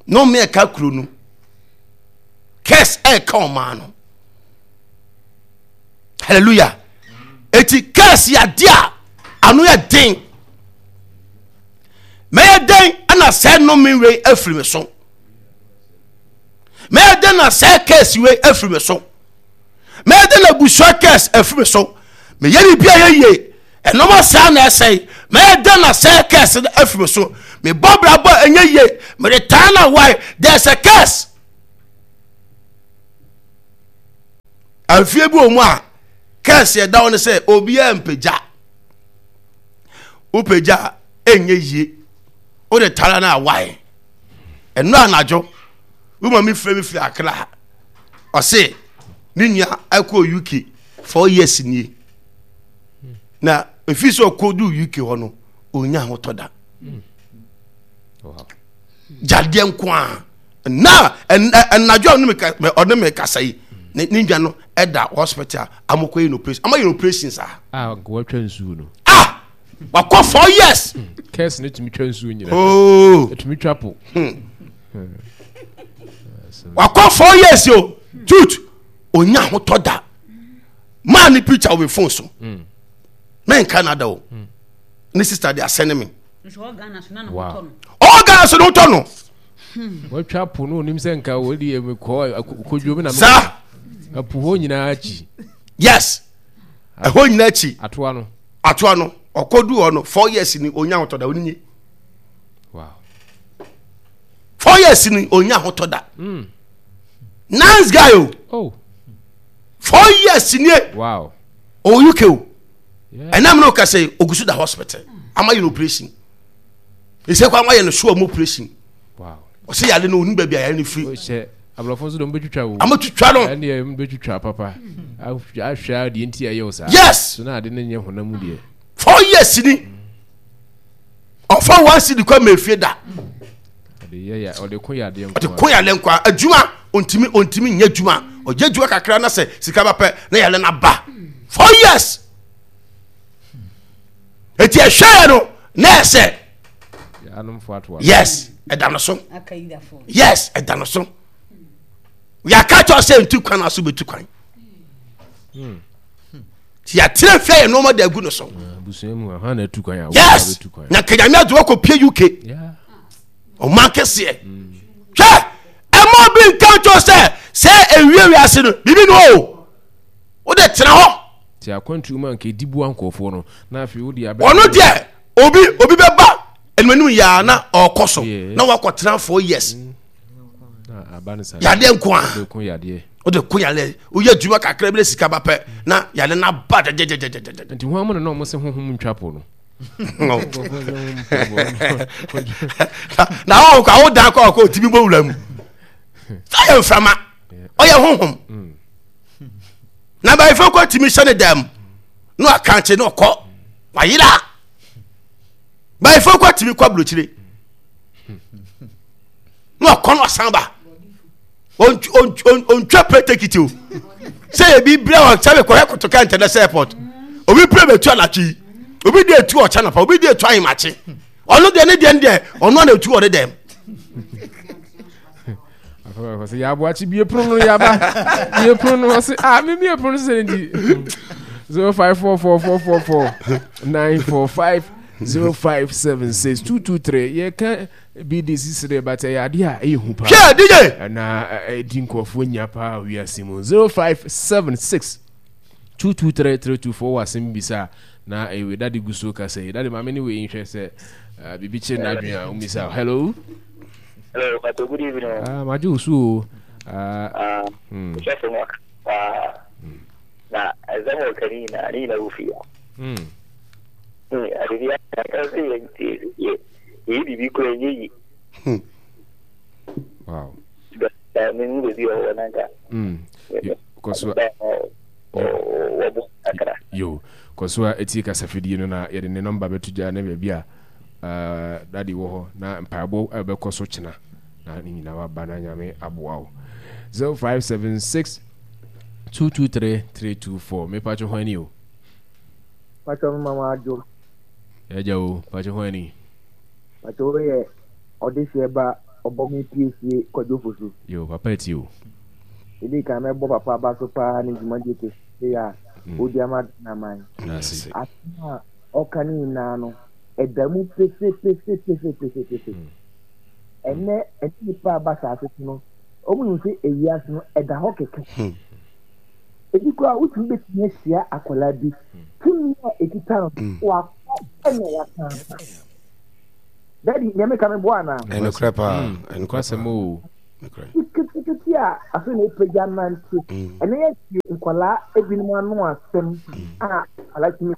Nnome ɛka kuro no. Curse ɛka ɔman no. Hallelujah. Eti curse yɛ adeɛ a ano yɛ den. Mɛyɛ dɛn ɛna sɛ nnome wei afiri me so. Mɛyɛ dɛn na sɛ curse wei afiri me so. Mɛyɛ dɛn na abusua curse afiri me so. Meyɛ biribi a yɛ yie. Ɛnɔma saa na ɛsɛe. Mɛyɛ dɛn na sɛ curse no afiri me so. Mebɔ brabɔ ɛnyɛ yie. Mede taa na wae. There's a curse. Afie bi wɔ mu a kɛse ɛda hɔ no sɛ obiara mpagya. Wopagya a ɛnyɛ yie. Wode tara no awae. Ɛno anadwo wo ma me frɛ me firi Accra. Ɔse ne nua ɛkɔɔ UK four years nie. Na ɛfiri sɛ ɔkɔduu UK hɔ no ɔnya ahotɔ da. Gyadeɛ nko a na ɛnadwo a ɔne me kasa yi ne ne nwa no ɛda hospital amokɔ yɛ no operation ama yɛ no operation saa. a nka watwa nsuo no. ah wakɔ four years. kɛse ne tumi twa nsuo nyina. ooo ɛtumi twa po. Hmm. wakɔ four years o tut onya ahotɔ da maa ne picture wɔ mi phone so hmm. mɛnka na da o hmm. ne sister de asɛne mi. Ɔwɔ Ghana so ne ho tɔ no. Watwa po no onim sɛ nka wɔde yɛ mekɔ kodwo mi na saa ɛpo hɔ nyinaa akyi. Yes ɛhɔ nyinaa akyi. Atoa no. Atoa no ɔkɔdu hɔ no four years ni onya ahotɔ da oninye. Wow. Four years ni onya ahotɔ da. Mm. Nice guy o. Oh. Four years nie. Wow. Ɔwɔ UK o. Ɛnam na ɔka sɛ ogusu da hospital ama yɛ no operation. Ɛsɛ kɔ ama yɛ no so ɔmo operation. Ɔsɛ yare no onim baabi a yare no firi. Ɔhyɛ aborɔfo nso de ɔmo bɛtwitwa o. Ɔmo twitwa no. Ɛndeɛ ɔmo bɛtwitwa papa. Ahwɛ a deɛ nti a ɛyɛ o saa. Yes. So na ade no nyɛ honam mu deɛ. Four years ni. Ɔfa one cedi kɔ ma efie da. Ɔde ko yadeɛ nko. Ɔde ko yadeɛ nko adwuma ontimi ontimi nyɛ adwuma. Ɔgye adwuma kakra na sɛ sika ba pɛ na yare no aba. Four years. Eti ɛhwɛ yɛ no na ɛsɛ. Yes, ɛda no so. Yes, ɛda no so. Yɛaka kyerɛ sɛ ntu kwan aso bɛtu kwan. Hmm. Ti yɛatena fie yɛ nneɛma de agu no so. Ah, yes, na kanyame adze wakɔ pie UK. Ɔman kɛseɛ. Hmm. Hwɛ, ɛma obi nka nkyɛw sɛ sɛ ewie wiase no biribi no o. Wode tena hɔ. Ti akwantuo mu a nka ɛdi boa nkurɔfoɔ no na afei wode abɛ. Ɔno deɛ obi obi bɛba animanim yaa na ɔkɔ so na wakɔ tena four years. Mm. Yadeɛ nko a. Wode ko yadeɛ woyɛ adwuma kakra bi na sika ba pɛ na yadeɛ no aba gyɛgyɛgyɛgyɛgyɛ. Nti ho amu na na ɔmo se honhom ntwa po no. Na ɔwɔ kɔ awo dan kɔ ɔkɔ otimi bɔ wura mu. Sɛ yɛ mframa ɔyɛ honhom. Mm. Na bayifo kɔ tumi hyɛ ne dan mu na wakankye na ɔkɔ wayera. Bayifo kɔ tumi kɔ aburokyire. Na ɔkɔ no ɔsan ba. Ɔntwa plane ticket o. Sɛ ebi brɛ wɔ sɛ mekɔhɛ kotoka international airport. Obi plane bɛtu anadwo yi. Obi de etu ɔkyɛ napa. Obi de etu ahemakye. Ɔno deɛ ne deɛ ne deɛ ɔno na etu ɔde dɛm. Ɔsɛ yɛaboakye bie pono no yaba bie pono no ɔsɛ ah me bie pono sɛ nti 054444 945 0576 223 yɛka BD sisi dɛ but ɛyɛ adeɛ a ɛyɛ hu paa hwɛ DJ na ɛdi nkurɔfoɔ nya paa wiase mu 0576 223 324 wɔ asɛm bisa na ɛwɛ dade gu so kasa yi dade maame ne wei nhwɛ sɛ biribi kyerɛ n'adwene a ɔmmisa hello Hello, Pastor. Good evening. Ah, magye wo so o. Ah, ah hmm. Sɔfo no paa. Hmm. Na ɛsɛm wɔ kani nyinaa ne nyinaa wɔ fie. Hmm. Hmm, ade bi aka sɛ yɛ yɛ yɛ biribi kura nyɛ yi. Hmm. Wow. Da me mu baabi ɔwɔ nanka. Hmm. Kɔ so. Wɔbɔ kakra. Yo, kɔ so a etie kasafidie no na yɛde ne nɔmba bɛto gya ne baabi a Uh, daddy wɔ hɔ na mpaebɔ ɛbɛkɔ so kyena na ne nyinaa waba na nyame aboa wo 0576 223 324 mepatwo ho ani o patwo mema mo adwo ɛgya o patwo ho ani patwo woyɛ ɔdehyeɛ ba ɔbɔ me piesie kwadwo fosu yo papa ati o ɛdi kan mɛbɔ papa aba so paa ne dwumadie kɛseɛ a ɔdi ama naman asɛm a ɔka ne nyinaa no ɛda mu pefepefepefepefepe. Ɛnnɛ, ɛne nnipa a ba saase so no, wɔn nim sɛ ewiase no ɛda hɔ kɛkɛ. Hmm. Ebi koraa wotumi betumi ahyia akwadaa bi, tumi a ekita no, hmm. wakɔ ɛna wasan aba. Dadi, nea meka me boa anaa? Ɛnokorɛ paa, hmm. ɛnokorɛ paa. o. Ketekete a afei na epagya nante. Ɛnɛ yɛ nkwadaa ebinom ano asɛm a akwadaa tumi.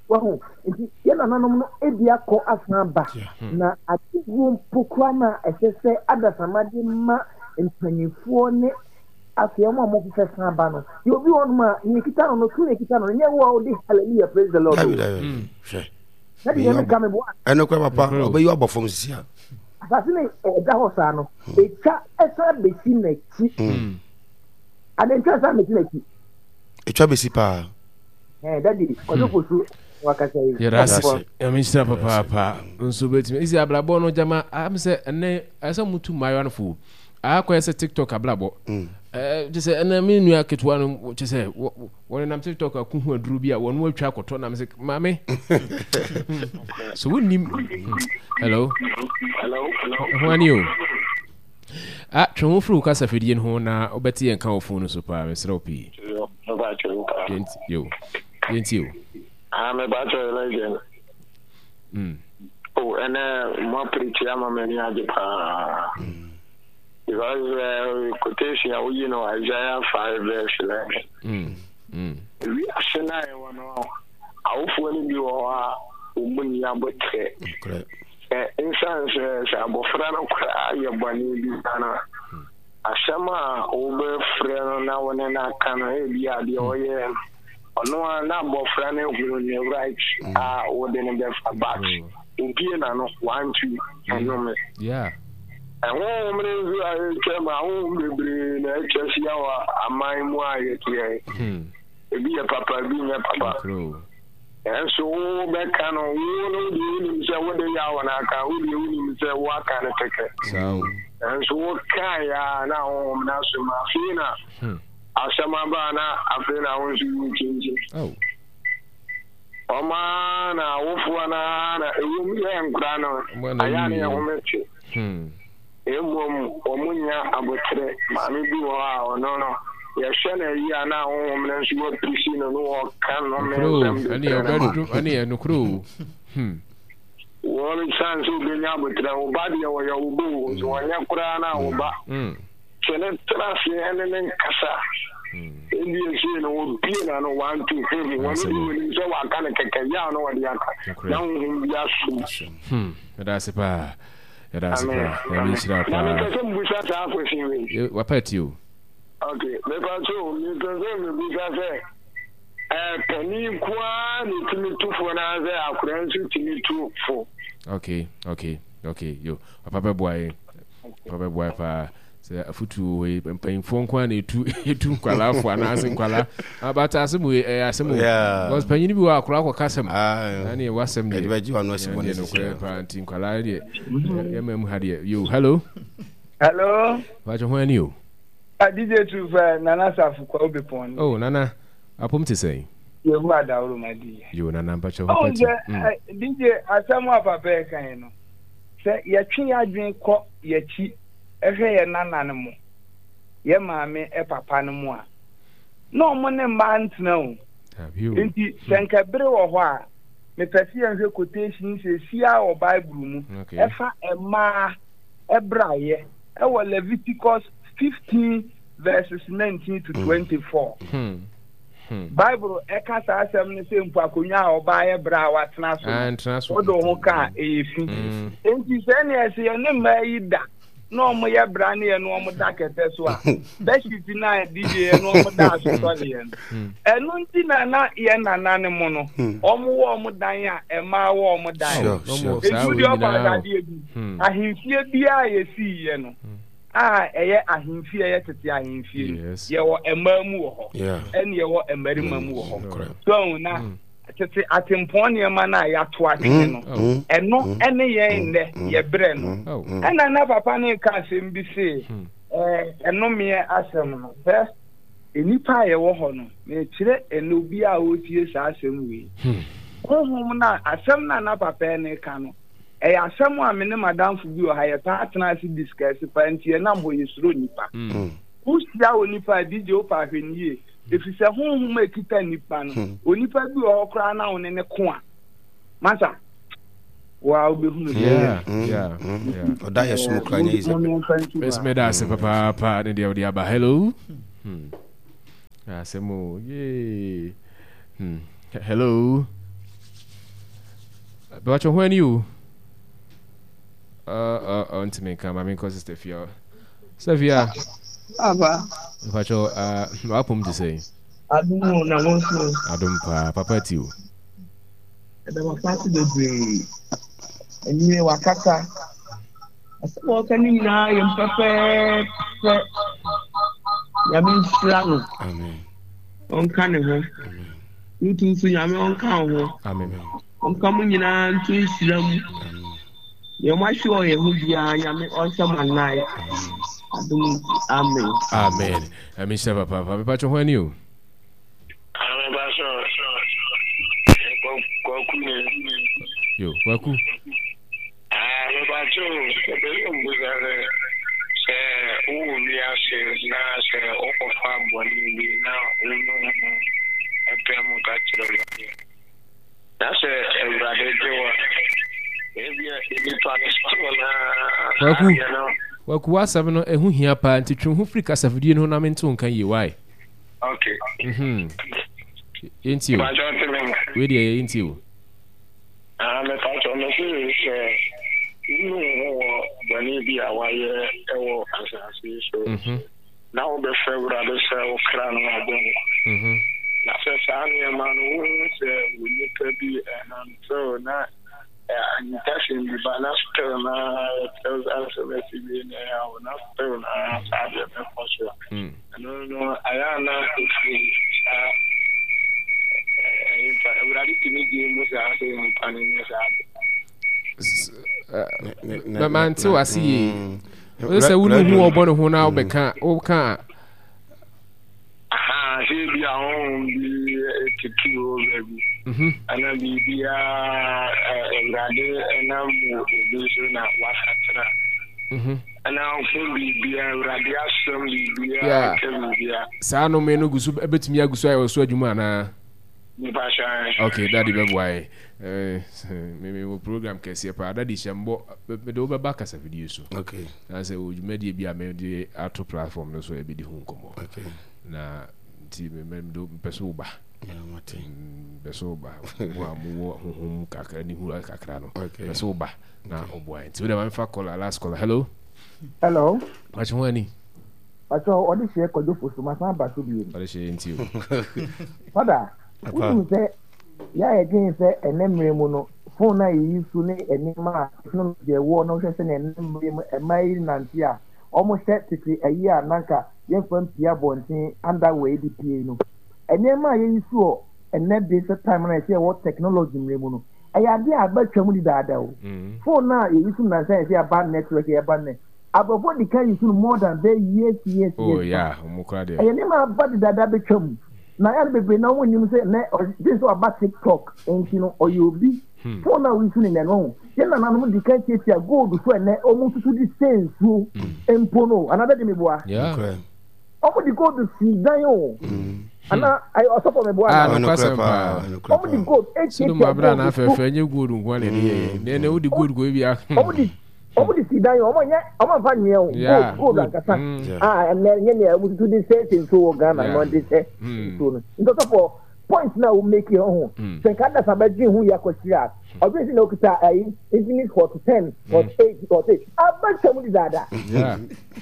Wahu? Nti yɛn nananom no adi akɔ asan aba. Na adeguo mpo koraa no a ɛsɛ sɛ adasamma de ma mpanimfoɔ ne afei wɔn a wɔfefɛ san ba no. Yɛ obi wɔ hɔnom a nea ekita no no, tumi na ekita no no, nyɛ wo a wode hallelujah praise the Lord. Dabi dabi. Hmm. Hwɛ. Na deɛ meka me boa. Ɛno kora papa, ɔbɛyi abɔ fam sisi a. Asase no ɛda hɔ saa no, etwa ɛsan besi n'akyi. Hmm. Adentwa san besi n'akyi. Etwa besi paa. Eh, daddy, kwadwo hmm. fosu wakasa yi. Yɛda ase. Nyame nhyira papaapa. Nso bɛtumi. Isi abrabɔ no gyama am sɛ ɛnɛ ɛsɛ mutu mmaayewa no fo. Akɔyɛ sɛ TikTok abrabɔ. Hmm. Eh, kyɛ sɛ ɛnɛ me nua ketewa no kyɛ sɛ wɔnenam TikTok ako ho aduro bi a wɔn atwa akɔtɔ nam sɛ maame. So wonim. Hmm. Hello. Hello. Ho ani o. Ah, twe ho firi wo kasafidie no ho na wobɛte yɛn ka wɔ fon no so paa mesrɛ wo pii. Yo, yɛntie o. Ah, mepakyɛ legend. Mm. Oh, ɛnɛ mo apirikyi ama m'ani agye paa. Mm. Because uh, quotation a woyi no Isaiah 5 verse 11. Mm. Mm. Wiase no a ɛwɔ no, awofoɔ no bi wɔ hɔ a wɔn mu nni aboterɛ. Ɛsiane sɛ sɛ abɔfra no koraa yɛ bɔne bi a no, asɛm a wobɛfrɛ no na wo ne no aka no, ebi a deɛ ɔyɛ no, ɔno a na abɔfra no ahunu ne right a wode no bɛfa, but obie n'ano, wantu ɛnome. Ɛhonhom no nso a ɛtwam, ahonhom bebree na atwa ahyia wɔ aman mu a yɛteɛ. Ebi yɛ papa, ebi nyɛ papa. Nanso wobɛka no, wo no deɛ wonim sɛ wode yaw na aka, wo deɛ wonim sɛ woaka no kɛkɛ. Nanso wokaeɛ a na honhom no asom, afei na hmm. asɛm aba a na afei na wo nso wokyinkyim. Ɔma na awofoɔ no na ɛwom yɛ nkora no, ayɛ ne yɛ home te. Hmm. Mmom wɔnnya aboterɛ. Maame bi wɔ hɔ a ɔno no, yɛhwɛ no ayi a na ahonhom no nso wɔapirisi no na wɔka nnome nsɛm de kyerɛ no ma. Ɛne yɛ nokorɛ o. Hmm. Wɔn san sɛ obɛnya aboterɛ. Wo ba deɛ wɔyɛ wo ba o, nso wɔnyɛ koraa na wo ba. Hmm. Sɛ ne tena ase ɛne ne nkasa. Hmm. Ebi esei no wɔbie na no wanto hwɛ mu. Wɔn deɛ wɔnim sɛ wɔaka no kɛkɛ, yaw na wɔde aka. Na honhom bi asom. Hmm. Meda ase paa. Yɛda ase paa. Nyame nhyira paa. Na mepɛ sɛ mbusa saa question wei. Wapa ti o. Okay, mepa so mepɛ sɛ mebusa sɛ. Panin nko ara na ɛtumi tu fo anaasɛ akwadaa nso tumi tu fo? Okay, okay, okay, yo. Papa bɛboa yɛn. Papa bɛboa yɛn paa. Sɛ afotuo wɔ yi, mpanyinfoɔ nko ara na etu etu nkwadaa fo anaasɛ nkwadaa. Abata asɛm wei ɛyɛ asɛm o. Because panyin bi wɔ akwadaa kɔ kasɛm. Na ne wasɛm deɛ. Ɛde bɛgye wɔn asi bɔ ne sisi. Ɛdeɛ paa nti nkwadaa deɛ yɛ mma mu ha deɛ. Yo, hello. Hello. Bàtò ho ani o. Ah, DJ True Nana Safo kwa obi pɔn. Oh, Nana. Apom te sɛn? Yehowa adaworo ma di. Yo, Nana mpakyɛ ho pati. Oh, sɛ DJ asɛm a papa yɛ kan yi no, sɛ yɛtwe yɛn adwene kɔ yɛakyi hwɛ yɛn nana no mo, yɛ maame papa no mo a, na wɔn ne mmaa ntena o. Nti sɛ nka bere wɔ hɔ a, mepɛ sɛ yɛnhwɛ quotation sɛsi a wɔ Bible mu ɛfa mmaa ɛbrayɛ ɛwɔ Leviticus 15 verses 19 to 24. Hmm. Hmm. Bible ɛka saa asɛm no sɛ mpo akonnwa a ɔbaa yɛ berɛ a watena so no wode wo ho ka a ɛyɛ fi. Hmm. Enti sɛ nea ɛsɛ yɛne mmaa yi da na ɔmo yɛ bra ne yɛ no ɔmo da kɛtɛ so a bɛhyiti no a DJ yɛ no ɔmo da asotɔ ne yɛ no hmm. ɛno nti na na yɛ nana ne mo no ɔmo wɔ ɔmo dan a mmaa wɔ ɔmo dan etu deɛ ɔfa asadeɛ bi ahemfie biara yɛsii yɛ no a ɛyɛ ahemfie a ɛyɛ tete ahemfie no, yɛwɔ mmaa mu wɔ hɔ, ɛne yɛwɔ mmarima mu wɔ hɔ. So na mm. tete atempɔn nneɛma no a yɛato atwene no, mm. Oh. ɛno mm. ɛne yɛn nnɛ yɛbrɛ no. Oh. Ɛna na papa no ka asɛm bi se, hmm. ɛnomeɛ asɛm no sɛ nnipa a yɛwɔ hɔ no, mekyerɛ ɛnɛ obi a ɔretie saa asɛm wei. Hmm. Honhom no a asɛm no a na papa no ka no, Ɛyɛ asɛm a me ne m'adamfo bi wɔ ha yɛtaa tena ase discuss paa nti yɛnam hɔ yɛsuro nnipa. Wohyia onipa a DJ wopɛ a hwɛ no yie efisɛ honhom a ɛkita nnipa no onipa bi wɔ hɔ koraa na wo ne no ko a masa wo a wobɛhunu sɛ ɔda yɛ som kora nyɛ easy. Mɛsɛ mɛda ase papaapa ne deɛ wode aba hello. Hmm. Asɛm o yee. Hmm. Hello. Bɛwatwɛ ho ani o. Uh, uh, uh, ntumi nka ma menkɔ sister fia. Sister fia. Aba. Mpakyɛ uh, wapom te sɛn? Adom o na wo nso. Adom paa, papa ti o. Ɛda papa ase bebree. Anwummerɛ wakasa. Asɛm a ɔka no nyinaa yɛ pɛpɛɛpɛ. Nyame nhyira no. Amen. Ɔnka ne ho. Wotu nso Nyame ɔnka wo ho. Amen. Ɔnka mo nyinaa nto nhyira mu. Deɛ moahwe wɔ yɛn ho biara Nyame ɔnhyɛ mo anan. Adom nti. Amen. Amen. Nyame nhyira papaapa. Mepatwo ho ani o. Kwaku ni. Yo, Kwaku. Ah, mepatwo, mepɛ sɛ mbusa sɛ sɛ wowɔ wiase na sɛ wokɔfa bɔne bi na wonu ho ɛpɛ mu ka kyerɛ Awurade na sɛ Awurade gye wo a, ebia nnipa no still na Kwaku, Kwaku w'asɛm no ɛho hia paa nti twe wo ho firi kasafidie no ho na mente wo nka yie why? Okay. Mhm. Yɛntie o. Wei deɛ yɛntie o. Ah, mepakyɛ mese sɛ wonu wo ho wɔ bɔne bi a wayɛ wɔ asase yi so mhm. na wobɛfrɛ Awurade sɛ wo kra no abɔ nkwa mhm. na sɛ saa nneɛma no wohu sɛ wo nipa bi ɛnantew na ahintasɛm bi ba na still na yɛkyerɛ sɛ asɛm asi wie na ɛyɛ awo na still na saa deɛ bɛkɔ so a mm. ɛno no ayɛ a na ɛfiri saa nipa awurade tumi gye mu saa sɛ nipa no nyɛ saa de mante wase yie mm. sɛ wone hu ɔbɔ ne ho na wobɛka woka a Aha, sɛ ebi a honhom bi tutu wɔ baabi mhm. ana biribiara awurade nam obi so na wasakyera mhm. ana ho biribiara awurade asɛm biribiara ka biribiara saa nnome no gu so bɛtumi agu so ayɛ wɔ so adwuma anaa ok dade bɛboa yɛ mewɔ program kɛseɛ paa dade hyɛ mbɔ mede wobɛba kasafidie so okay. Na sɛ wɔ dwumadie bi a mede ato platform no so a yɛbɛdi ho nkɔmmɔ. Okay. Na nti mepɛ sɛ woba. Mepɛ sɛ woba. Mo a mowɔ honhom kakra ne hura kakra no. Mepɛ sɛ woba na ɔboa yɛn. Nti wode ma mefa caller last caller. Hello. Hello. Makye ho ani. Pacho ɔde hyɛ kwadwo fosu masan aba so bio. Ɔde hyɛ nti o. Fada. Wonim sɛ yɛ a yɛdwen sɛ ɛnɛ mmerɛ mu no phone a yɛyi so ne nneɛma a technology ɛwɔ na wohwɛ sɛnea ɛnɛ mmerɛ mu mmaa yi nante a wɔhyɛ tete ayi a na anka yɛmfa mpue abɔnten underwear yi de pue no nneɛma a yɛyi so wɔ ɛnɛ de sɛ time no a yɛsɛ yɛwɔ technology mmerɛ mu no ɛyɛ adeɛ a aba twam dedaada o. Phone no a yɛyi so nnansa yɛsɛ yɛaba network yɛba nnɛ Aborɔfo di kan use no more than bɛyɛ years years Oh years yeah, back. ɔmo koraa deɛ. Ɛyɛ nneɛma a aba dedaada abɛtwa mu. Na ɛyɛ a na bebree no ara wɔnnim sɛ nnɛ ɔgye sɛ waba TikTok nti no ɔyɛ obi. Phone a wouse no nnɛ no wahu. Yɛn nananom di kan tiatia gold so a nnɛ wɔn susu de sɛ nsuo mpo no o. Anaa dadi meboa? Yeah. Nokorɛ. Wɔn de gold si dan o. Anaa ɛyɛ ɔsɔfo meboa Ah, anaa? Ɛnokorɛ nokwasɛm paa, paa. ɛnokorɛ Wɔn de paa. gold Sodom etiatia abira na gold so. afɛɛfɛ ɛnyɛ gold nko ara na yɛde yɛ yɛ. Nɛ nɛ wode gold kɔ ebi a. Wɔn de Wɔn de si dan o, wɔn nyɛ wɔn anfa nwea o, gold gold ankasa. A ɛnɛ nyɛ nea wɔn tutu de sɛ sɛ nsuo wɔ Ghana na wɔn de sɛ nsuo no. Nti ɔsɔfo point na wɔn make yɛ ho. Sɛ nka adasa bɛdwen ho yɛ akɔkyiri a, ɔdwen sɛ na okita ayi Infinix Hot 10, Hot 8, Hot 8. Aba twam de daadaa.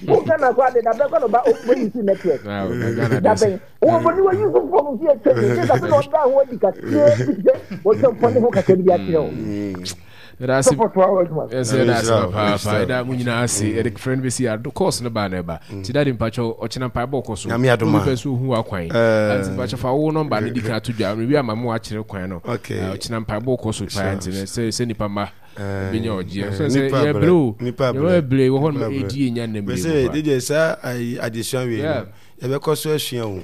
Wo Ghana koraa de dabɛn kɔ na ɔba ɔbɛ use network. Dabɛn. Wɔ bɔ ni wɔ use phone nso yɛ twam. Nti sɛ na ɔda ho adi kakraa bi sɛ wɔtwa mpɔ ne ho kakra bi de akyerɛ wo. Yɛda ase yɛsɛ yɛda ase papaapa yɛda mo nyinaa ase yɛde frɛ no bɛsi ado course no baa na ɛba nti dade mpakyɛw ɔkyena mpaebɔ kɔ so Nyame adom a. obi pɛ sɛ ohu w'akwan nti mpakyɛw fa wo nɔmba no di kan ato dwa mewie ama mo akyerɛ kwan no ɔkyena mpaebɔ kɔ so paa nti no sɛ sɛ nipa mma bɛnya ɔgyeɛ sɛ sɛ yɛbrɛ o yɛbrɛ wɔ hɔ nom ɛdi yɛnya nnɛ mmerɛ mu paa DJ saa adesua wei no yɛbɛkɔ so asua o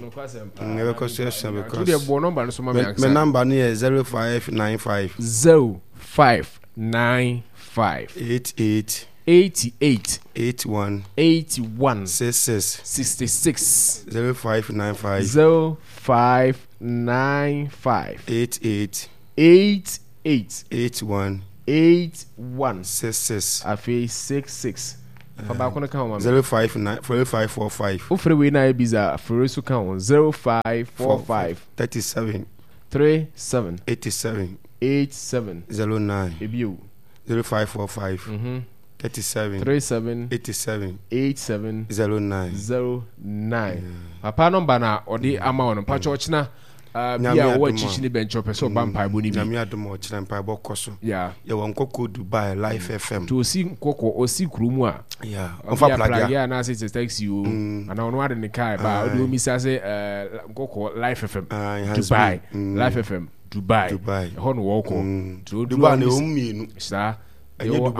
yɛbɛkɔ so asua because deɛ bɔ nɔmba no so ma me ankasa me nɔmba no yɛ 0595 0595 88 88 81 81 66 66 0595 0595 88 88 81 81 66 afei 66 fa baako no ka ho ma me. 059 0545. Wofrɛ wei na ayɛ busy a, frɛ wei so ka ho 0545. 37. 37. 87. 87. 09. Ebio. 0545. Mm 37. 37. 87. 87. 09. 09. Papa nɔmba na ɔde ama wo no mpakyɛ ɔkyena Ah, bi a ɔwɔ akyikyi ne bɛnkyɛ ɔpɛ sɛ ɔba mm, mpaebɔ no bi. Nyame adom a ɔkyerɛ mpaebɔ kɔ so. Yeah. Yɛwɔ nkɔkɔ Dubai Life mm. FM. Nti osi nkɔkɔ osi kuro mu a. Yeah. Ɔfa plagea anaasɛ sɛ taxi o. Mm. Anaa ɔno ade ne kaa ba ɔde omisa sɛ eh, nkɔkɔ Life FM. Ah, Dubai Life FM Dubai. Dubai. Ɛhɔ na wɔkɔ. Dubai na ɛwɔ mmienu. Saa. Ɛnyɛ Dubai.